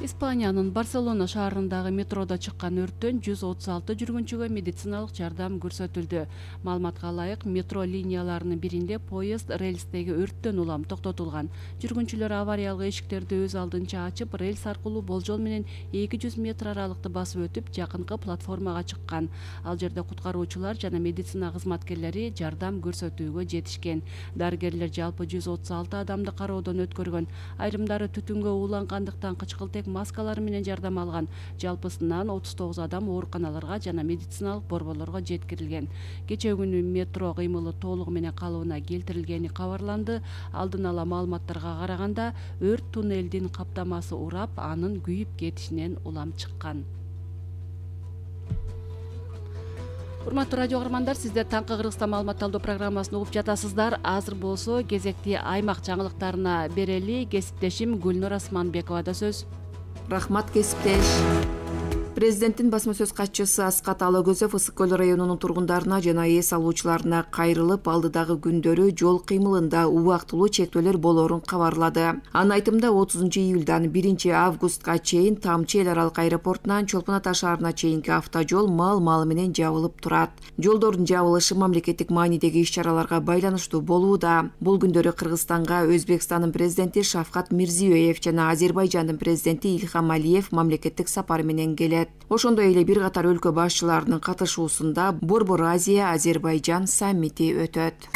Испаниянын Барселона шаарындагы метродо чыккан өрттөн 136 жүргүнчүгө медициналык жардам көрсөтүлдү. Маалыматка ылайык, метро линияларынын биринде поезд рельстеги өрттөн улам токтотулган. Жүргүнчүлөр авариялык эшиктерди өз алдынча ачып, рельс аркылуу болжол менен 200 метр аралыкты басып өтүп, жакынкы платформага чыккан. Ал жерде куткаруучулар жана медицина кызматкерлери жардам көрсөтүүгө жетишкен. Дарыгерлер жалпы 136 адамды кароодон өткөргөн. Айрымдары түтүнгө уулангандыктан кычкылтек маскалары менен жардам алган. Жалпысынан 39 адам ооруканаларга жана медициналык борборлорго жеткирилген. Кечээ күнү метро кыймылы толугу менен калыбына келтирилгени кабарланды. Алдын ала маалыматтарга караганда, өрт туннелдин каптамасы урап, анын күйүп кетишинен улам чыккан. Урматтуу радио каармандар, сиздер таңкы Кыргызстан маалымат талдоо программасын угуп жатасыздар. Азыр болсо кезекти аймак жаңылыктарына берели. Кесиптешим Гүлнур Асманбековада сөз. Рахмат, кесиптеш. Президенттин басма сөз катчысы Аскат Алагөзов Ысык көл районунун тургундарына жана эс алуучуларына кайрылып, алдыдагы күндөрү жол кыймылында убактылуу чектөөлөр болоорун кабарлады. Анын айтымында 30 июлдан 1 августка чейин Тамчы эл аралык аэропортунан Чолпон Ата шаарына чейинки автожол мал менен жабылып турат. Жолдордун жабылышы мамлекеттик маанидеги иш-чараларга байланыштуу болууда. Бул күндөрү Кыргызстанга Өзбекстандын президенти Шавкат Мирзиёев жана Азербайжандын президенти Ильхам Алиев мамлекеттик сапар менен келет. Ошондой эле бир катар өлкө башчыларынын катышуусунда Борбор Азия Азербайжан саммити өтөт.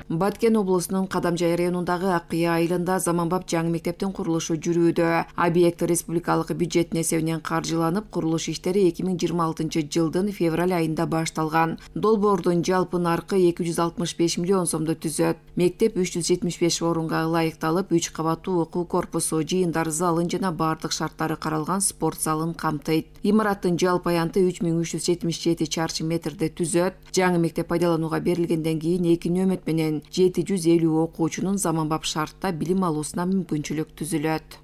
Баткен облусунун Кадамжай районундагы Акыя айылында заманбап жаңы мектептин курулушу жүрүүдө. Объект республикалык бюджеттин эсебинен каржыланып, курулуш иштери 2026 жылдын февраль айында башталган. Долбоордун жалпы наркы 265 миллион сомду түзөт. Мектеп 375 орунга ылайыкталып, 3 кабаттуу окуу корпусу, жыйындар залын жана бардык шарттары каралган спорт залын камтыйт. Имараттын жалпы аянты 3377 чарчы метрди түзөт. Жаңы мектеп пайдаланууга берилгенден кийин 2 нөмөт менен 750 окуучунун заманбап шартта билим алуусуна мүмкүнчүлүк түзүлөт.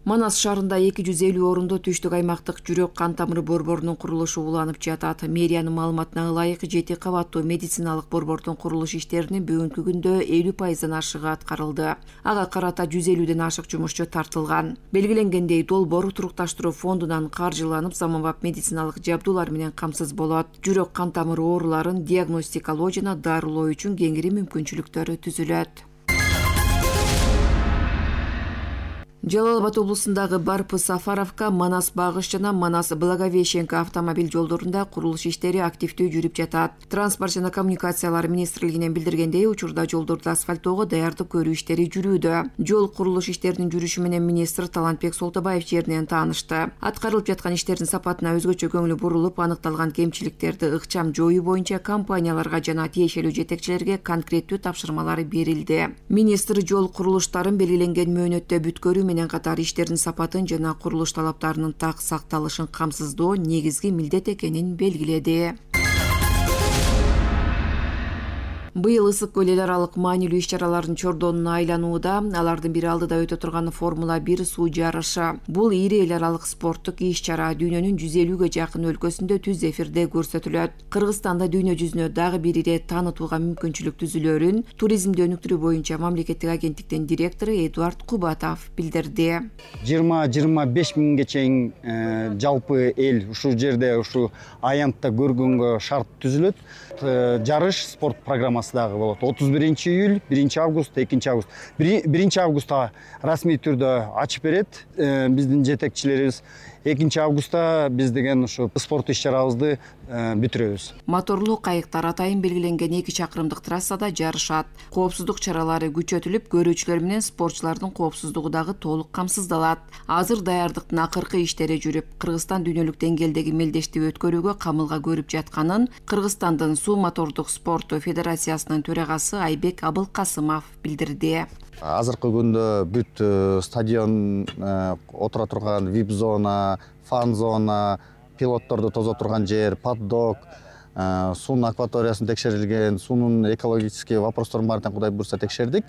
Манас шаарында 250 орундуу түштүк аймактык жүрөк кан тамыры борборунун курулушу уланып жатат. Мэриянын маалыматына ылайык 7 кабаттуу медициналык борбордун курулуш иштеринин бүгүнкү күндө 50% ашыгы аткарылды. Ага карата 150ден ашык жумушчу тартылган. Белгиленгендей, долбоор турукташтыруу фондунан каржыланып, заманбап медициналык жабдуулар менен камсыз болот. Жүрөк кан тамыры ооруларын диагностикалоо жана дарылоо үчүн кеңири мүмкүнчүлүктөрү түзүлөт. Жалал Абад облусундагы Барпы Сафаровка, Манас Багыш жана Манас Благовещенко автомобиль жолдорунда курулуш иштери активдүү жүрүп жатат. Транспорт жана коммуникациялар министрлигинен билдиргендей, учурда жолдорду асфальттоого даярдык көрүү иштери жүрүүдө. Жол курулуш иштеринин жүрүшү менен министр Талантбек Солтобаев жеринен таанышты. Аткарылып жаткан иштердин сапатына өзгөчө көңүлү бурулуп, аныкталган кемчиликтерди ыкчам жоюу боюнча компанияларга жана тиешелүү жетекчилерге конкреттүү тапшырмалар берилди. Министр жол курулуштарын белгиленген мөөнөттө бүткөрүү менен катар иштердин сапатын жана курулуш талаптарынын так сакталышын камсыздоо негизги милдет экенин белгиледи. Быйыл Ысык көл эл аралык маанилүү иш-чаралардын чордонуна айланууда. Алардын бири алдыда өтө турган Формула 1 суу жарышы. Бул ири эл аралык спорттук иш-чара дүйнөнүн 150ге жакын өлкөсүндө түз эфирде көрсөтүлөт. Кыргызстанда дүйнө жүзүнө дагы бир ирет таанытууга мүмкүнчүлүк түзүлөөрүн туризмди өнүктүрүү боюнча мамлекеттик агенттиктин директору Эдуард Кубатов билдирди. 20-25 миңге чейин жалпы эл ушул жерде ушу аянтта көргөнгө шарт түзүлөт. Жарыш спорт программасы дагы болот. 31 июль, 1 август, 2 август. 1 августта расмий түрдө ачып берет биздин жетекчилерибиз. 2 августта биз деген ушу спорт иш-чарабызды бүтүрөбүз. Моторлуу кайыктар атайын белгиленген 2 чакырымдык трассада жарышат. Коопсуздук чаралары күчөтүлүп, көрүүчүлөр менен спортчулардын коопсуздугу дагы толук камсыздалат. Азыр даярдыктын акыркы иштери жүрүп, Кыргызстан дүйнөлүк деңгээлдеги мелдешти өткөрүүгө камылга көрүп жатканын Кыргызстандын суу мотордук спорту федерациясынын төрагасы Айбек Абылкасымов билдирди. Азыркы күндө бүт стадион, отура турган вип зона, фан зона, пилотторду тозо турган жер, паддок, суунун акваториясын текшерилген, суунун экологический вопросторун баарын Кудай буйрса текшердик.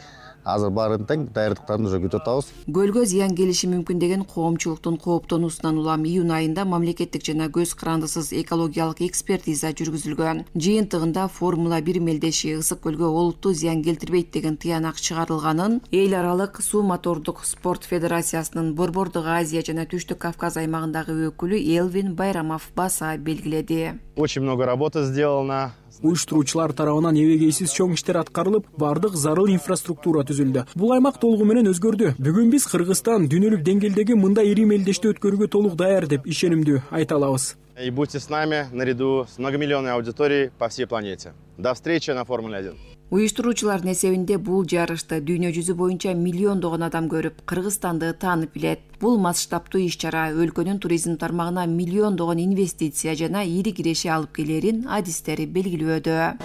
Азыр баарын тең даярдыктарын уже күтүп атабыз. Көлгө зыян келиши мүмкүн деген коомчулуктун кооптонуусунан улам июнь айында мамлекеттик жана көз карандысыз экологиялык экспертиза жүргүзүлгөн. Жыйынтыгында Формула 1 мелдеши Ысык көлгө олуттуу зыян келтирбейт деген тыянак чыгарылганын эл аралык суу мотордук спорт федерациясынын Борбордук Азия жана Түштүк Кавказ аймагындагы өкүлү Элвин Байрамов баса белгиледи. Очень много работы сделано. Уюштуруучулар тарабынан эбегейсиз чоң иштер аткарылып, бардык зарыл инфраструктура түзүлдү. Бул аймак толугу менен өзгөрдү. Бүгүн биз Кыргызстан дүйнөлүк деңгээлдеги мындай ири мелдешти өткөрүүгө толук даяр деп ишенимдүү айта алабыз. И будьте с нами наряду с многомиллионной аудиторией по всей планете. До встречи на Формуле 1. Уюштуруучулардын эсебинде бул жарышты дүйнө жүзү боюнча миллиондогон адам көрүп, Кыргызстанды таанып билет. Бул масштабтуу иш-чара өлкөнүн туризм тармагына миллиондогон инвестиция жана ири киреши алып келерин адистери белгилөөдө.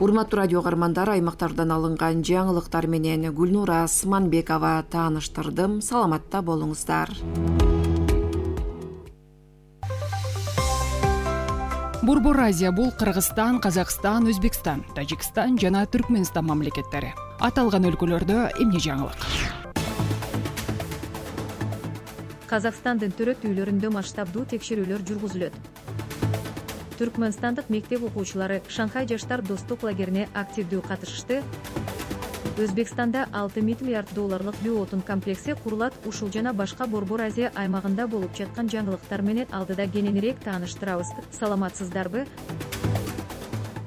Урматтуу радио каармандар, аймактардан алынган жаңылыктар менен Гүлнура Сманбекова тааныштырдым. Саламатта болуңуздар. Борбор Азия бул Кыргызстан, Казакстан, Өзбекстан, Тажикстан жана Түркмөнстан мамлекеттери. Аталган өлкөлөрдө эмне жаңылык? Казакстандын төрөт үйлөрүндө масштабдуу текшерүүлөр жүргүзүлөт. Түркмөнстандык мектеп окуучулары Шанхай жаштар достук лагерине активдүү катышышты. Өзбекстанда 6 миллиард долларлык биоотун комплекси курулат. Ушул жана башка Борбор Азия аймагында болуп жаткан жаңылыктар менен алдыда кененирээк тааныштырабыз. Саламатсыздарбы?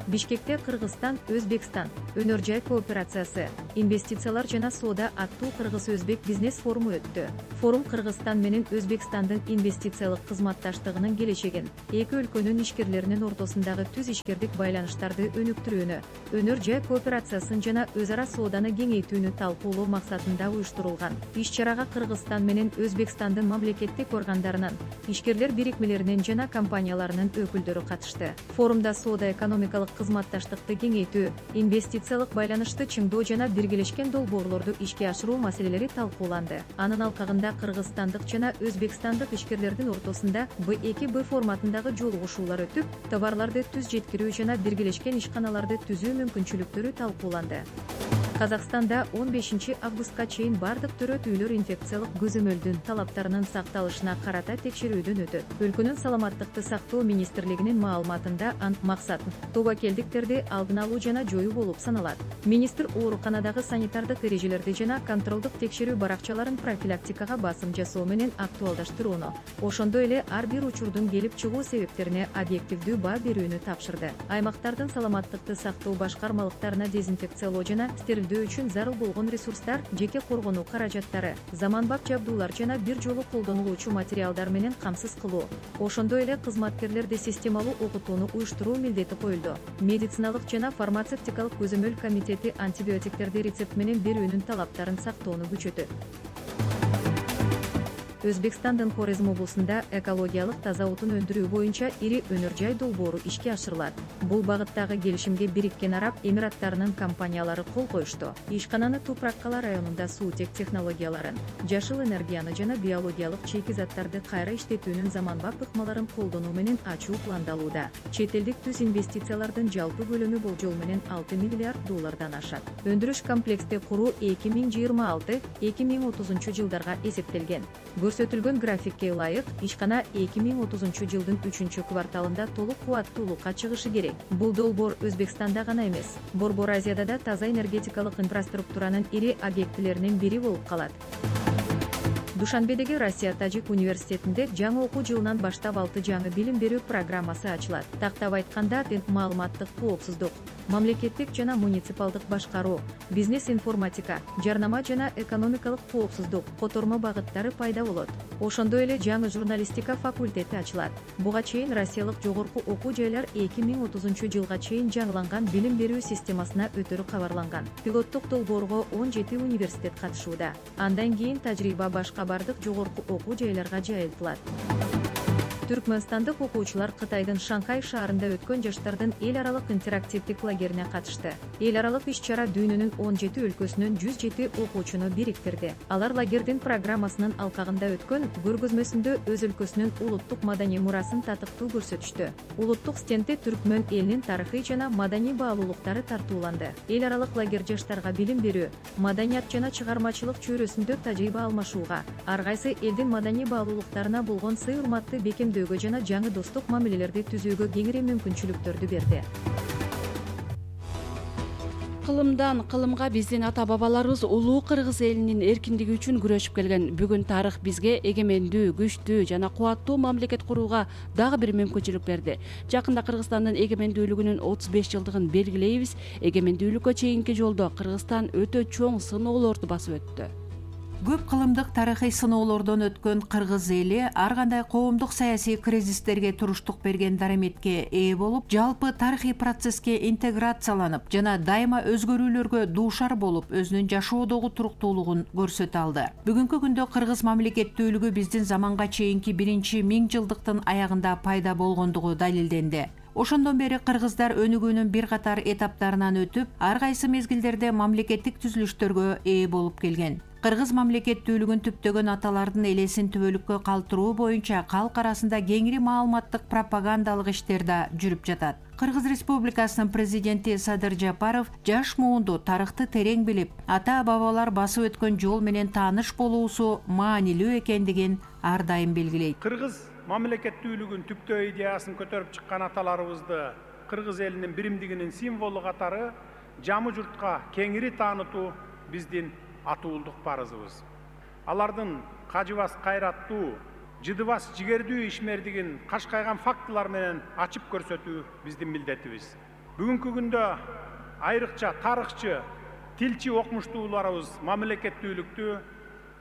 Бишкекте Кыргызстан Өзбекстан өнөр жай кооперациясы, инвестициялар жана соода аттуу кыргыз-өзбек бизнес форуму өттү. Форум Кыргызстан менен Өзбекстандын инвестициялык кызматташтыгынын келечегин, эки өлкөнүн ишкерлеринин ортосундагы түз ишкердик байланыштарды өнүктүрүүнү, өнөр жай кооперациясын жана өз ара сооданы кеңейтүүнү талкуулоо максатында уюштурулган. Иш-чарага Кыргызстан менен Өзбекстандын мамлекеттик органдарынын, ишкерлер бирикмелеринин жана компанияларынын өкүлдөрү катышты. Форумда соода экономикалык кызматташтыкты кеңейтүү, инвестициялык байланышты чыңдоо жана биргелешкен долбоорлорду ишке ашыруу маселелери талкууланды. Анын алкагында кыргызстандык жана өзбекстандык ишкерлердин ортосунда Б2Б форматындагы жолугушуулар өтүп, товарларды түз жеткирүү жана биргелешкен ишканаларды түзүү мүмкүнчүлүктөрү талкууланды. Казакстанда 15 августка чейин бардык төрөт үйлөр инфекциялык көзөмөлдүн талаптарынын сакталышына карата текшерүүдөн өтөт. Өлкөнүн саламаттыкты сактоо министрлигинин маалыматында максат тобокелдиктерди алдын алуу жана жоюу болуп саналат. Министр ооруканадагы санитардык эрежелерди жана контролдук текшерүү баракчаларын профилактикага басым жасоо менен актуалдаштырууну, ошондой эле ар бир учурдун келип чыгуу себептерине объективдүү баа берүүнү тапшырды. Аймактардын саламаттыкты сактоо башкармалыктарына дезинфекциялоо жана стерилдөө үчүн зарыл болгон ресурстар, жеке коргонуу каражаттары, заманбап жабдуулар жана бир жолу колдонулуучу материалдар менен камсыз кылуу, ошондой эле кызматкерлерди системалуу окутууну уюштуруу милдети коюлду. Медициналык жана фармацевтикалык көзөмөл комитети антибиотиктерди рецепт менен берүүнүн талаптарын сактоону күчөтөт. Өзбекстандын Хорезм облусунда экологиялык таза отун өндүрүү боюнча ири өнөр жай долбоору ишке ашырылат. Бул багыттагы келишимге Бириккен Араб Эмираттарынын компаниялары кол коюшту. Ишкананы Тупраккала районунда суутек технологияларын, жашыл энергияны жана биологиялык чийки заттарды кайра иштетүүнүн заманбап ыкмаларын колдонуу менен ачуу пландалууда. Чет элдик түз инвестициялардын жалпы көлөмү болжол менен 6 миллиард доллардан ашат. Өндүрүш комплексти куруу 2026-2030 жылдарга эсептелген. Көрсөтүлгөн графикке ылайык, ишкана 2030 жылдын 3-кварталында толук кубаттуулукка чыгышы керек. Бул долбоор Өзбекстанда гана эмес, Борбор Азияда да таза энергетикалык инфраструктуранын ири объектилеринин бири болуп калат. Душанбедеги Россия-Тажик университетинде жаңы окуу жылынан баштап 6 жаңы билим берүү программасы ачылат. Тактап айтканда, маалыматтык коопсуздук, мамлекеттик жана муниципалдык башкаруу, бизнес информатика, жарнама жана экономикалык коопсуздук котормо багыттары пайда болот. Ошондой эле жаңы журналистика факультети ачылат. Буга чейин Россиялык жогорку окуу жайлар 2030 жылга чейин жаңыланган билим берүү системасына өтөрү кабарланган. Пилоттук долбоорго 17 университет катышууда. Андан кийин тажрыйба башка бардык жогорку окуу жайларга жайылтылат. Түркмөнстандык окуучулар Кытайдын Шанхай шаарында өткөн жаштардын эл аралык интерактивдик лагерине катышты. Эл аралык иш-чара дүйнөнүн 17 өлкөсүнөн 107 окуучуну бириктирди. Алар лагердин программасынын алкагында өткөн көргөзмөсүндө өз өлкөсүнүн улуттук маданий мурасын татыктуу көрсөтүштү. Улуттук стендте түркмөн элинин тарыхый жана маданий баалуулуктары тартууланды. Эл аралык лагерь жаштарга билим берүү, маданият жана чыгармачылык чөйрөсүндө тажрыйба алмашууга, ар кайсы элдин маданий баалуулуктарына болгон сый урматты бекемдөөгө жана жаңы достук мамилелерди түзүүгө кеңири мүмкүнчүлүктөрдү берди. Кылымдан кылымга биздин ата-бабаларыбыз улуу кыргыз элинин эркиндиги үчүн күрөшүп келген. Бүгүн тарых бизге эгемендүү, күчтүү жана кубаттуу мамлекет курууга дагы бир мүмкүнчүлүк берди. Жакында Кыргызстандын эгемендүүлүгүнүн 35 жылдыгын белгилейбиз. Эгемендүүлүккө чейинки жолдо Кыргызстан өтө чоң сыноолорду басып өттү. Көп кылымдык тарыхый сыноолордон өткөн кыргыз эли ар кандай коомдук саясий кризистерге туруштук берген дараметке ээ болуп, жалпы тарыхый процесске интеграцияланып жана дайыма өзгөрүүлөргө дуушар болуп, өзүнүн жашоодогу туруктуулугун көрсөтө алды. Бүгүнкү күндө кыргыз мамлекеттүүлүгү биздин заманга чейинки 1-миң жылдыктын аягында пайда болгондугу далилденди. Ошондон бери кыргыздар өнүгүүнүн бир катар этаптарынан өтүп, ар кайсы мезгилдерде мамлекеттик түзүлүштөргө ээ болуп келген. кыргыз мамлекеттүүлүгүн түптөгөн аталардын элесин түбөлүккө калтыруу боюнча калк арасында кеңири маалыматтык пропагандалык иштер да жүрүп жатат. Кыргыз Республикасынын президенти Садыр Жапаров жаш муунду тарыхты терең билип, ата-бабалар басып өткөн жол менен тааныш болуусу маанилүү экендигин ар дайым белгилейт. Кыргыз мамлекеттүүлүгүн түптөө идеясын көтөрүп чыккан аталарыбызды кыргыз элинин биримдигинин символу катары жамы журтка кеңири таанытуу биздин атуулдук парызыбыз. Алардын кажыбас кайраттуу, жыдыбас жигердүү ишмердигин кашкайган фактылар менен ачып көрсөтүү биздин милдетибиз. Бүгүнкү күндө айрыкча тарыхчы, тилчи окумуштууларыбыз мамлекеттүүлүктү,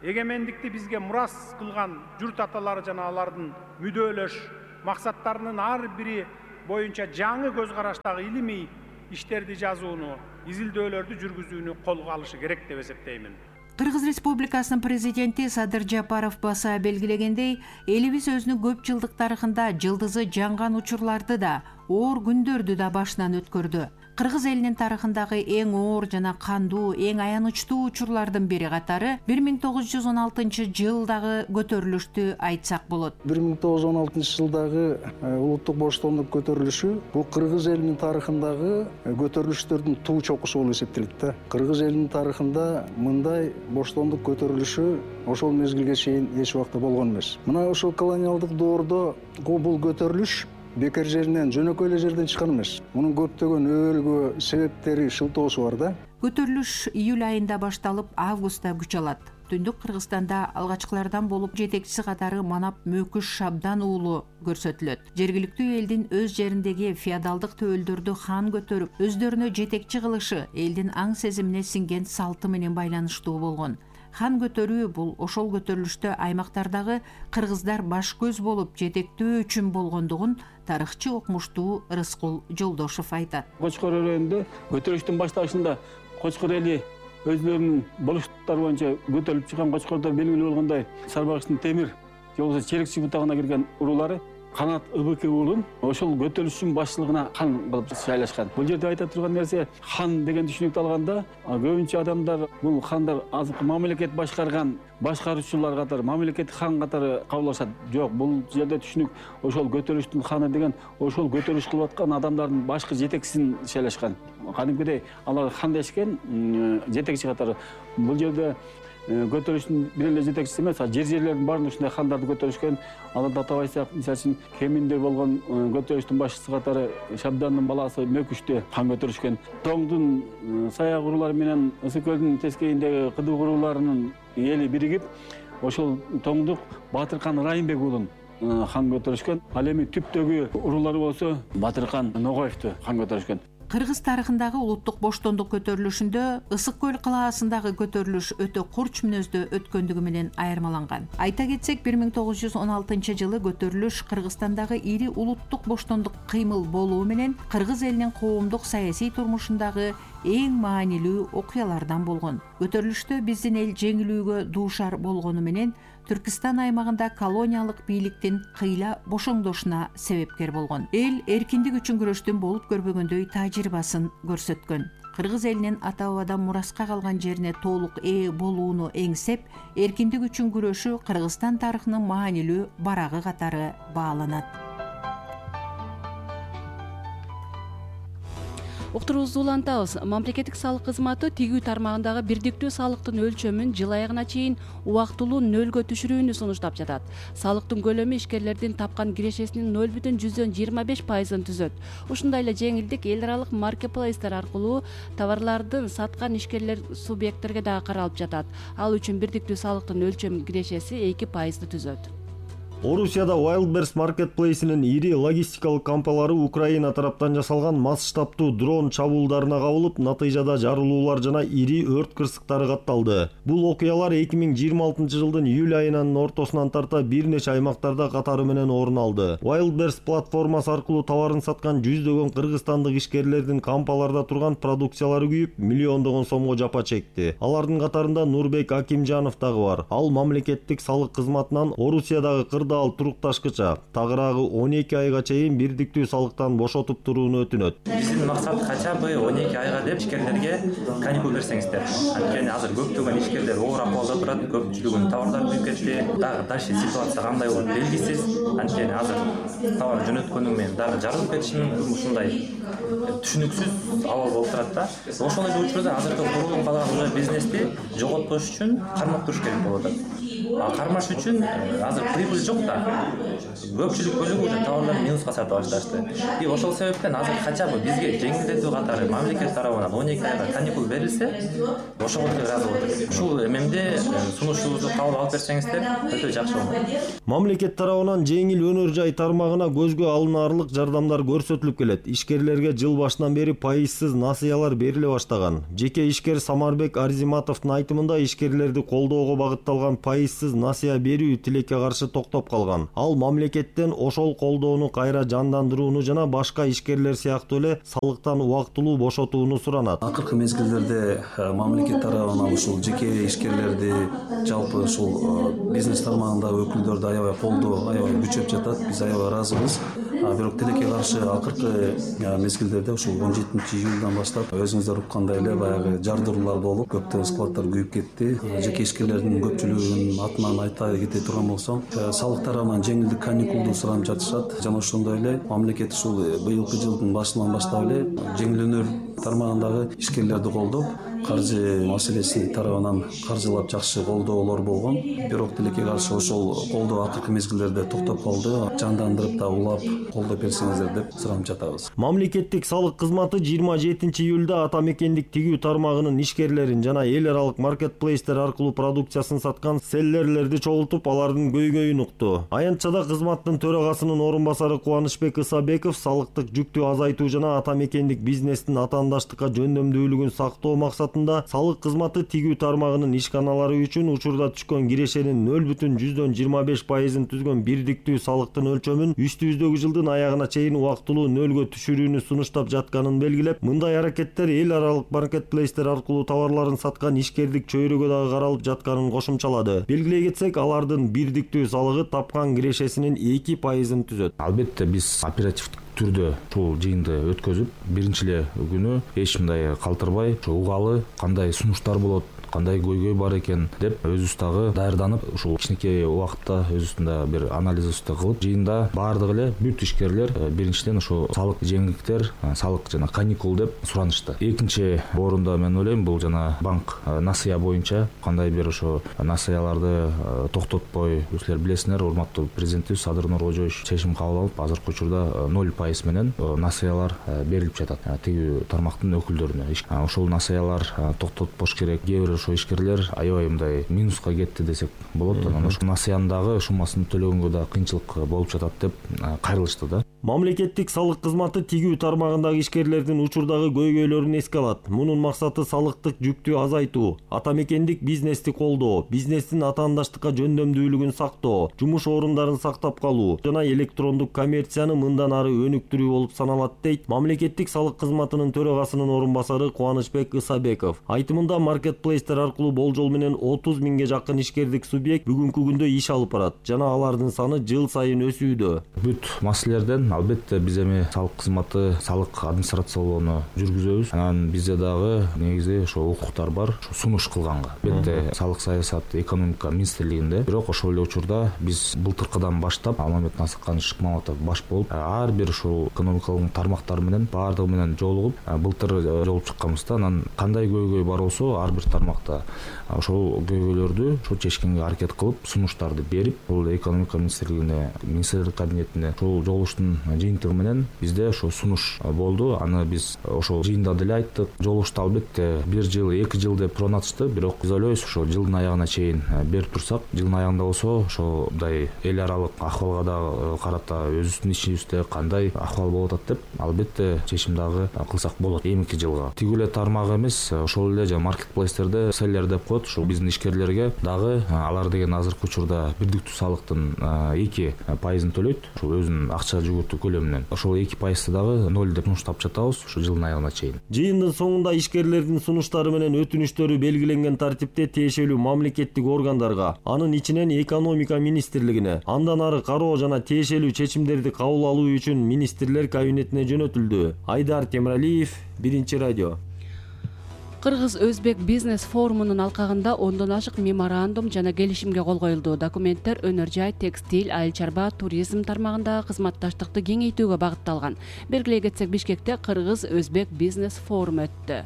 эгемендикти бизге мурас кылган журт аталары жана алардын мүдөлөш максаттарынын ар бири боюнча жаңы көз караштагы илимий иштерди жазууну, изилдөөлөрдү жүргүзүүнү колго алышы керек деп эсептеймин. Кыргыз Республикасынын президенти Садыр Жапаров баса белгилегендей, элибиз өзүнүн көп жылдык тарыхында жылдызы жанган учурларды да, оор күндөрдү да башынан өткөрдү. Кыргыз элинин тарыхындагы эң оор жана кандуу, эң аянычтуу учурлардын бири катары 1916-жылдагы көтөрүлүштү айтсак болот. 1916-жылдагы улуттук боштондук көтөрүлүшү бул кыргыз элинин тарыхындагы көтөрүлүштөрдүн туу чокусу болуп эсептелет да. Кыргыз элинин тарыхында мындай боштондук көтөрүлүшү ошол мезгилге чейин эч убакта болгон эмес. Мына ошол колониалдык доордо бул көтөрүлүш бекер жеринен, жөнөкөй эле жерден чыккан эмес. Мунун көптөгөн өбөлгө себептери, шылтоосу бар да. Көтөрүлүш июль айында башталып, августта күч алат. Түндүк Кыргызстанда алгачкылардан болуп жетекчиси катары Манап Мөкүш Шабдан уулу көрсөтүлөт. Жергиликтүү элдин өз жериндеги феодалдык төөлдөрдү хан көтөрүп, өздөрүнө жетекчи кылышы элдин аң сезимине сиңген салты менен байланыштуу болгон. Хан көтөрүү бул ошол көтөрүлүштө аймактардагы кыргыздар баш көз болуп жетектөө үчүн болгондугун тарыхчы окумуштуу Рыскул Жолдошов айтат. Кочкор өрөөнүндө көтөрүлүштүн башталышында Кочкор эли өзлөрүнүн болуштуктары боюнча көтөрүлүп чыккан Кочкордо белгилүү болгондой Сарбагычтын темир же болбосо Черекчи бутагына кирген урулары Канат ыбык уулун ошол көтөрүлүштүн башчылыгына хан кылып шайлашкан. Бул жерде айта турган нерсе, хан деген түшүнүктү алганда, көбүнчө адамдар бул хандар азыркы мамлекет башкарган башкаруучулар катары, мамлекет хан катары кабыл алышат. Жок, бул жерде түшүнүк ошол көтөрүлүштүн ханы деген ошол көтөрүлүш кылып аткан адамдардын башкы жетекчисин шайлашкан. Кадимкидей алар хан дешкен жетекчи катары. Бул жерде көтөрүлүштүн бир эле жетекчиси эмес, жерлердин баарында ушундай хандарды көтөрүшкөн. Аларды атабайсак, мисалы үчүн Кеминде болгон көтөрүлүштүн башчысы катары Шабдандын баласы Мөкүштү хан көтөрүшкөн. Тоңдун саяк урулары менен Ысык көлдүн тескейиндеги Кыдык уруларынын эли биригип, ошол Тоңдук Батыркан Райымбек уулун хан көтөрүшкөн. Ал эми түптөгү урулары болсо Батыркан Ногоевду хан көтөрүшкөн. Кыргыз тарыхындагы улуттук боштондук көтөрүлүшүндө Ысык көл калаасындагы көтөрүлүш өтө курч мүнөздө өткөндүгү менен айырмаланган. Айта кетсек, 1916-жылы көтөрүлүш Кыргызстандагы ири улуттук боштондук кыймыл болуу менен кыргыз элинин коомдук саясий турмушундагы эң маанилүү окуялардан болгон. Көтөрүлүштө биздин эл жеңилүүгө дуушар болгону менен Түркистан аймагында колониялык бийликтин кыйла бошоңдошуна себепкер болгон. Эл эркиндик үчүн күрөштүн болуп көрбөгөндөй тажрыйбасын көрсөткөн. Кыргыз элинин ата-бабадан мураска калган жерине толук ээ болууну эңсеп, эркиндик үчүн күрөшү Кыргызстан тарыхынын маанилүү барагы катары бааланат. Уктуруубузду улантабыз. Мамлекеттик салык кызматы тигүү тармагындагы бирдиктүү салыктын өлчөмүн жыл аягына чейин убактылуу нөлгө түшүрүүнү сунуштап жатат. Салыктын көлөмү ишкерлердин тапкан кирешесинин 0,25%-ын түзөт. Ушундай эле жеңилдик эл аралык маркетплейстер аркылуу товарлардын саткан ишкерлер субъекттерге дагы каралып жатат. Ал үчүн бирдиктүү салыктын өлчөм кирешеси 2%-ды түзөт. Орусияда Wildberries маркетплейсинин ири логистикалык кампалары Украина тараптан жасалган масштабтуу дрон чабуулдарына кабылып, натыйжада жарылуулар жана ири өрт кырсыктары катталды. Бул окуялар 2026-жылдын июль айынын ортосунан тарта бир нече аймактарда катары менен орун алды. Wildberries платформасы аркылуу товарын саткан жүздөгөн кыргызстандык ишкерлердин кампаларда турган продукциялары күйүп, миллиондогон сомго жапа чекти. Алардын катарында Нурбек Акимжанов дагы бар. Ал мамлекеттик салык кызматынан Орусиядагы кырдаал жылда ал турукташкыча тагыраагы 12 айга чейин бирдиктүү салыктан бошотуп турууну өтүнөт. Биздин максат кача бы 12 айга деп ишкерлерге каникул берсеңиздер. Анткени азыр көптөгөн ишкерлер оор акыбалда турат, көпчүлүгүнүн товардары күйүп кетти. Дагы дальше ситуация кандай болот белгисиз. Анткени азыр товар жөнөткөнү менен дагы жарылып кетиши мүмкүн, ушундай түшүнүксүз абал болуп турат да. Ошол эле учурда азыркы курулуп калган бизнести жоготпош үчүн кармап туруш керек болуп атат. Кармаш үчүн азыр прибыль жок да. Көпчүлүк бөлүгү уже товарларды минуска сатып башташты. И ошол себептен азыр кача бы бизге жеңилдетүү катары мамлекет тарабынан 12 айга каникул берилсе, ошого ыраазы болот. Ушул эмемде сунушубузду кабыл алып берсеңиздер, өтө жакшы болот. Мамлекет тарабынан жеңил өнөр жай тармагына көзгө алынаарлык жардамдар көрсөтүлүп келет. Ишкерлерге жыл башынан бери пайызсыз насыялар бериле баштаган. Жеке ишкер Самарбек Арзиматовдун айтымында ишкерлерди колдоого багытталган пайызсыз насыя берүү тилекке каршы токтоп калган. Ал мамлекеттен ошол колдоону кайра жандандырууну жана башка ишкерлер сыяктуу эле салыктан убактылуу бошотууну суранат. Акыркы мезгилдерде мамлекет тарабынан ушул жеке ишкерлерди, жалпы ушул бизнес тармагындагы өкүлдөрдү аябай колдоо, аябай күчөп жатат. Биз аябай ыраазыбыз. Бирок тилекке каршы акыркы мезгилдерде ушул 17-июлдан баштап өзүңүздөр уккандай эле баягы жардыруулар болуп, көптөгөн складдар күйүп кетти. Жеке ишкерлердин көпчүлүгүнүн атынан айта кете турган болсом, салык тарабынан жеңилдик каникулду суранып жатышат. Жана ошондой эле мамлекет ушул быйылкы жылдын башынан баштап эле жеңил өнөр тармагындагы ишкерлерди колдоп, каржы маселеси тарабынан каржылап жакшы колдоолор болгон. Бирок тилекке каршы ошол колдоо акыркы мезгилдерде токтоп калды. Жандандырып да улап колдоп берсеңиздер деп суранып жатабыз. Мамлекеттик салык кызматы 27-июлда ата мекендик тигүү тармагынын ишкерлерин жана эл аралык маркетплейстер аркылуу продукциясын саткан селлерлерди чогултуп, алардын көйгөйүн укту. Аянтчада кызматтын төрагасынын орун басары Кубанычбек Ысабеков салыктык жүктү азайтуу жана ата мекендик бизнестин атаандаштыкка жөндөмдүүлүгүн сактоо максатында салык кызматы тигүү тармагынын ишканалары үчүн учурда түшкөн кирешенин 0,25%-ын түзгөн бирдиктүү салыктын өлчөмүн үстүбүздөгү жылдын аягына чейин убактылуу нөлгө түшүрүүнү сунуштап жатканын белгилеп, мындай аракеттер эл аралык маркетплейстер аркылуу товарларын саткан ишкердик чөйрөгө дагы каралып жатканын кошумчалады. Белгилей кетсек, алардын бирдиктүү салыгы тапкан кирешесинин 2%-ын түзөт. Албетте биз оперативдик түрдө ушул жыйынды өткөзүп, биринчи эле күнү эч мындай калтырбай, угалы кандай сунуштар болот, кандай көйгөй бар экен деп өзүбүз дагы даярданып, ушул кичинекей убакытта өзүбүздүн да бир анализибизди кылып, жыйында баардыгы эле бүт ишкерлер биринчиден ошо салык жеңилдиктер, салык жана каникул деп суранышты. Экинчи орунда мен ойлойм, бул жана банк насыя боюнча кандай бир ошо насыяларды токтотпой, силер билесиңер, урматтуу президентибиз Садыр Нуркожоевич чечим кабыл алып, азыркы учурда 0% менен насыялар берилип жатат тигүү тармактын өкүлдөрүнө. Ошол насыялар токтотпош керек. Кээ бир ошо ишкерлер аябай мындай минуска кетти десек болот. Анан ошо насыяндагы суммасын төлөгөнгө да кыйынчылык болуп жатат деп кайрылышты да. Мамлекеттик салык кызматы тигүү тармагындагы ишкерлердин учурдагы көйгөйлөрүн эске алат. Мунун максаты салыктык жүктү азайтуу, ата мекендик бизнести колдоо, бизнестин атаандаштыкка жөндөмдүүлүгүн сактоо, жумуш орундарын сактап калуу жана электрондук коммерцияны мындан ары өнүктүрүү болуп саналат, дейт мамлекеттик салык кызматынын төрагасынын орун басары Кубанычбек Ысабеков. Айтымында маркетплейстер аркылуу болжол менен 30 миңге жакын ишкердик субъект бүгүнкү күндө иш алып барат жана алардын саны жыл сайын өсүүдө. Бүт маселелерден албетте биз эми салык кызматы, салык администрациялоону жүргүзөбүз. Анан бизде дагы негизи ошо укуктар бар, сунуш кылганга. Албетте салык саясат экономика министрлигинде, бирок ошол эле учурда биз былтыркыдан баштап Алмамет Насыкканович Шыкмаматов баш болуп, ар бир ушул экономикалык тармактар менен баардыгы менен жолугуп, былтыр жолугуп чыкканбызда, анан кандай көйгөй бар болсо ар бир тармакта ошол көйгөйлөрдү ошо чечкенге аракет кылып, сунуштарды берип, бул экономика министрлигине, министрлик кабинетине ошол жолугуштун жыйынтыгы менен бизде ошо сунуш болду. Аны биз ошол жыйында деле айттык. Жолугушту албетте 1 жыл, 2 жыл деп суранатышты, бирок биз ойлойбуз, ошо жылдын аягына чейин берип турсак, жылдын аягында болсо ошо мындай эл аралык акыбалга да карата өзүбүздүн ишибизде кандай акыбал болуп атат деп албетте чечим дагы кылсак болот эмки жылга. Тигүү эле тармагы эмес, ошол эле жана маркетплейстерде селлер деп коет, ушул биздин ишкерлерге дагы алар деген азыркы учурда бирдиктүү салыктын 2%-ын төлөйт. Ошол өзүнүн акча жүгү экспортту көлөмүнөн. Ошол 2% дагы 0 деп сунуштап жатабыз ушу жылдын аягына чейин. Жыйындын соңунда ишкерлердин сунуштары менен өтүнүштөрү белгиленген тартипте тиешелүү мамлекеттик органдарга, анын ичинен экономика министрлигине, андан ары кароо жана тиешелүү чечимдерди кабыл алуу үчүн министрлер кабинетине жөнөтүлдү. Айдар Темиралиев, Биринчи радио. Кыргыз-Өзбек бизнес форумунун алкагында 10дон ашык меморандум жана келишимге кол коюлду. Документтер өнөр жай, текстиль, айыл чарба, туризм тармагындагы кызматташтыкты кеңейтүүгө багытталган. Белгилей кетсек, Бишкекте Кыргыз-Өзбек бизнес форуму өттү.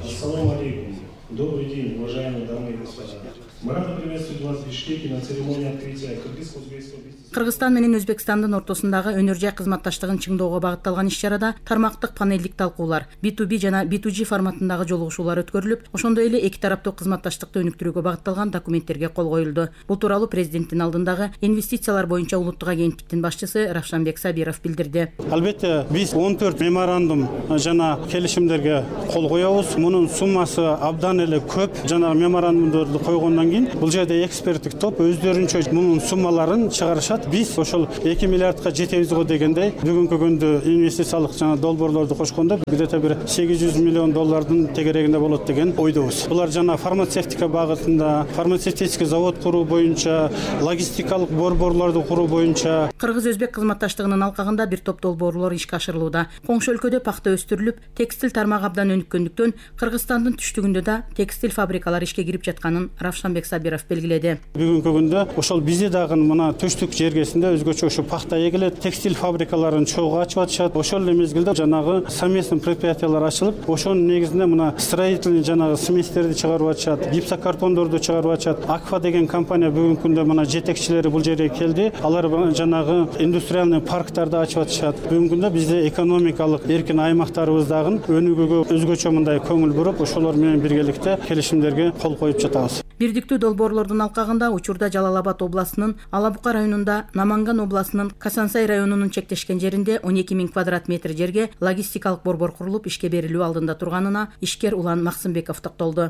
Ассаламу алейкум. Добрый день, уважаемые дамы и господа. Мы рады приветствовать вас в Бишкеке на церемонии открытия Кыргыз-Өзбекского бизнеса. Кыргызстан менен Өзбекстандын ортосундагы өнөр жай кызматташтыгын чыңдоого багытталган иш-чарада тармактык панелдик талкуулар, B2B жана B2G форматындагы жолугушуулар өткөрүлүп, ошондой эле эки тараптуу кызматташтыкты өнүктүрүүгө багытталган документтерге кол коюлду. Бул тууралуу президенттин алдындагы инвестициялар боюнча улуттук агенттиктин башчысы Равшанбек Сабиров билдирди. Албетте, биз 14 меморандум жана келишимдерге кол коебуз. Мунун суммасы абдан эле көп. Жана меморандумдорду койгондон кийин бул жерде эксперттик топ өздөрүнчө мунун суммаларын чыгарышат. Биз ошол 2 миллиардка жетебиз го дегендей, бүгүнкү күндө инвестициялык жана долбоорлорду кошкондо где-то бир 800 миллион доллардын тегерегинде болот деген ойдобуз. Булар жана фармацевтика багытында, фармацевтический завод куруу боюнча, логистикалык борборлорду куруу боюнча. Кыргыз-Өзбек кызматташтыгынын алкагында бир топ долбоорлор ишке ашырылууда. Коңшу өлкөдө пахта өстүрүлүп, текстиль тармагы абдан өнүккөндүктөн Кыргызстандын түштүгүндө да текстиль фабрикалары ишке кирип жатканын Равшанбек Сабиров белгиледи. Бүгүнкү күндө ошол бизде дагы мына түштүк жергесинде өзгөчө ушу пахта эгилет, текстиль фабрикаларын чогуу ачып атышат. Ошол эле мезгилде жанагы совместный предприятиялар ачылып, ошонун негизинде мына строительный жанагы сместерди чыгарып атышат, гипсокартондорду чыгарып атышат. Акфа деген компания бүгүнкү күндө мына жетекчилери бул жерге келди. Алар жанагы индустриальный парктарды ачып атышат. Бүгүнкү күндө бизде экономикалык эркин аймактарыбыздагы өнүгүүгө өзгөчө мындай көңүл буруп, ошолор менен биргеликте келишимдерге кол коюп жатабыз. Бирдиктүү долбоорлордун алкагында учурда Жалал Абад областынын Алабука районунда, Наманган областынын Касансай районунун чектешкен жеринде 12 000 квадрат метр жерге логистикалык борбор курулуп ишке берилүү алдында турганына ишкер Улан Максымбеков токтолду.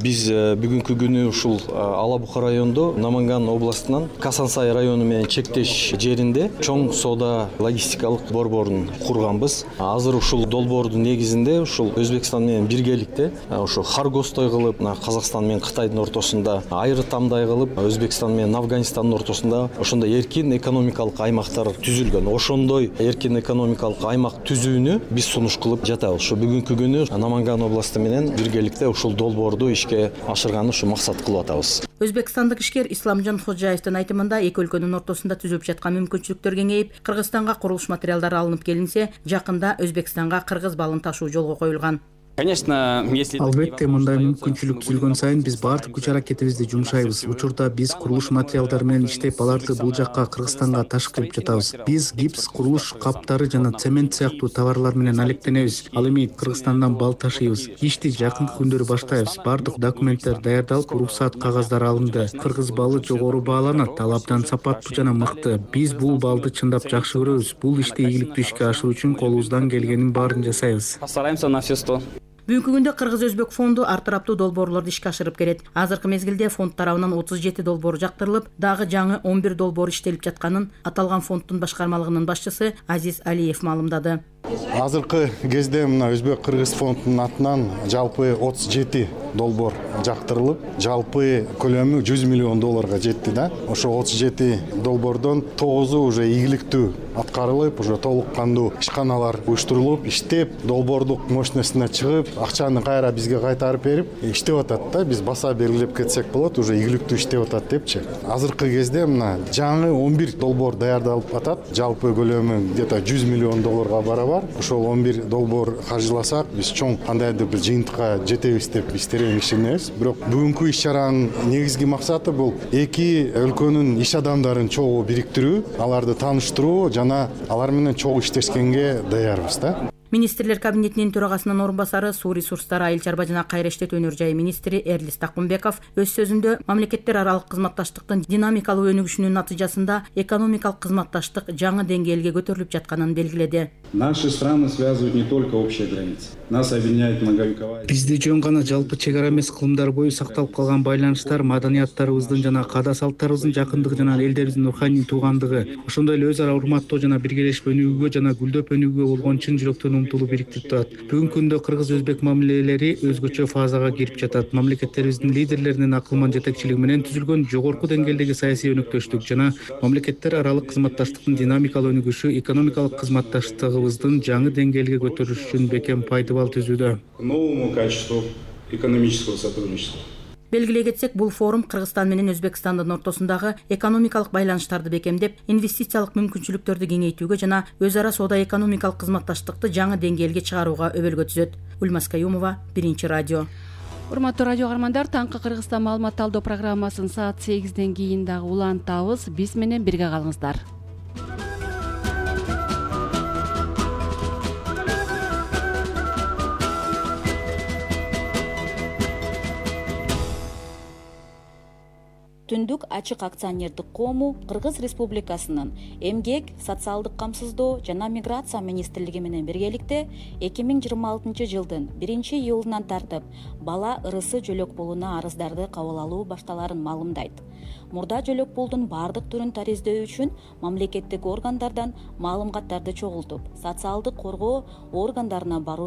Биз бүгүнкү күнү ушул Алабука районунда Наманган областынан Касансай району менен чектеш жеринде чоң соода логистикалык борборун курганбыз. Азыр ушул долбоордун негизинде ушул Өзбекстан менен биргеликте ошо Харгостой кылып, Казакстан менен Кытайдын ортосунда айры тамдай кылып, Өзбекстан менен Афганистандын ортосунда ошондой эркин экономикалык аймактар түзүлгөн. Ошондой эркин экономикалык аймак түзүүнү биз сунуш кылып жатабыз. Ошо бүгүнкү күнү Наманган областы менен биргеликте ушул долбоорду ишке ашырганды ушу максат кылып атабыз. Өзбекстандык ишкер Исламжан Ходжаевдин айтымында эки өлкөнүн ортосунда түзүлүп жаткан мүмкүнчүлүктөр кеңейип, Кыргызстанга курулуш материалдары алынып келинсе, жакында Өзбекстанга кыргыз балын ташуу жолго коюлган. Албетте, мындай мүмкүнчүлүк түзүлгөн сайын биз баардык күч аракетибизди жумшайбыз. Учурда биз курулуш материалдары менен иштеп, аларды бул жакка Кыргызстанга ташып кирип жатабыз. Биз гипс, курулуш каптары жана цемент сыяктуу товарлар менен алектенебиз. Ал эми Кыргызстандан бал ташыйбыз. Ишти жакынкы күндөрү баштайбыз. Баардык документтер даярдалып, уруксаат кагаздары алынды. Кыргыз балы жогору бааланат, ал абдан сапаттуу жана мыкты. Биз бул балды чындап жакшы көрөбүз. Бул ишти ийгиликтүү ишке ашыруу үчүн колубуздан келгенин баарын жасайбыз. Бүгүнкү күндө Кыргыз-Өзбек фонду ар тараптуу долбоорлорду ишке ашырып келет. Азыркы мезгилде фонд тарабынан 37 долбоор жактырылып, дагы жаңы 11 долбоор иштелип жатканын аталган фонддун башкармалыгынын башчысы Азиз Алиев маалымдады. Азыркы кезде мына Өзбек-Кыргыз фондунун атынан жалпы 37 долбоор жактырылып, жалпы көлөмү 100 миллион долларга жетти да. Ошо 37 долбоордон 9-у уже ийгиликтүү аткарылып, уже толук кандуу ишканалар уюштурулуп, иштеп, долбоордук мощностуна чыгып, акчаны кайра бизге кайтарып берип, иштеп атат да. Биз баса белгилеп кетсек болот, уже ийгиликтүү иштеп атат депчи. Азыркы кезде мына жаңы 11 долбоор даярдалып атат. Жалпы көлөмү где-то 100 миллион долларга барабар. Ошол 11 долбоор каржыласак, биз чоң кандайдыр бир жыйынтыкка жетебиз деп биз терең ишенебиз. Бирок бүгүнкү иш-чаранын негизги максаты бул эки өлкөнүн иш адамдарын чогуу бириктирүү, аларды тааныштыруу жана алар менен чогуу иштешкенге даярбыз да. Министрлер кабинетинин төрагасынын орун басары, суу ресурстары, айыл чарба жана кайра иштетүү өнөр жайы министри Эрлис Такунбеков өз сөзүндө мамлекеттер аралык кызматташтыктын динамикалуу өнүгүшүнүн натыйжасында экономикалык кызматташтык жаңы деңгээлге көтөрүлүп жатканын белгиледи. Наши страны связывают не только общая граница. Нас объединяет многовековая. Бизди жөн гана жалпы чек ара эмес кылымдар бою сакталып калган байланыштар, маданияттарыбыздын жана каада салттарыбыздын жакындыгы жана элдерибиздин руханий туугандыгы, ошондой эле өз ара урматтоо жана биргелешип өнүгүүгө жана гүлдөп өнүгүүгө болгон чын жүрөктөн умтулуу бириктирип турат. Бүгүнкү күндө кыргыз-өзбек мамилелери өзгөчө фазага кирип жатат. Мамлекеттерибиздин лидерлеринин акылман жетекчилиги менен түзүлгөн жогорку деңгээлдеги саясий өнөктөштүк жана мамлекеттер аралык кызматташтыктын динамикалуу өнүгүшү экономикалык кызматташтыгыбыздын жаңы деңгээлге көтөрүлүшү үчүн бекем пайдабал түзүүдө. К новому качеству экономического сотрудничества. Белгилей кетсек, бул форум Кыргызстан менен Өзбекстандын ортосундагы экономикалык байланыштарды бекемдеп, инвестициялык мүмкүнчүлүктөрдү кеңейтүүгө жана өз ара соода экономикалык кызматташтыкты жаңы деңгээлге чыгарууга өбөлгө түзөт. Ульмас Каюмова, Биринчи радио. Урматтуу радио каармандар, таңкы Кыргызстан маалымат талдоо программасын саат 8ден кийин дагы улантабыз. Биз менен бирге калыңыздар. Түндүк ачык акционердик коому Кыргыз Республикасынын Эмгек, социалдык камсыздоо жана миграция министрлиги менен биргеликте 2026 жылдын 1-июлунан тартып бала ырысы жөлөк пулуна арыздарды кабыл алуу башталарын маалымдайт. Мурда жөлөк пулдун бардык түрүн тариздөө үчүн мамлекеттик органдардан маалыматтарды чогултуп, социалдык коргоо органдарына баруу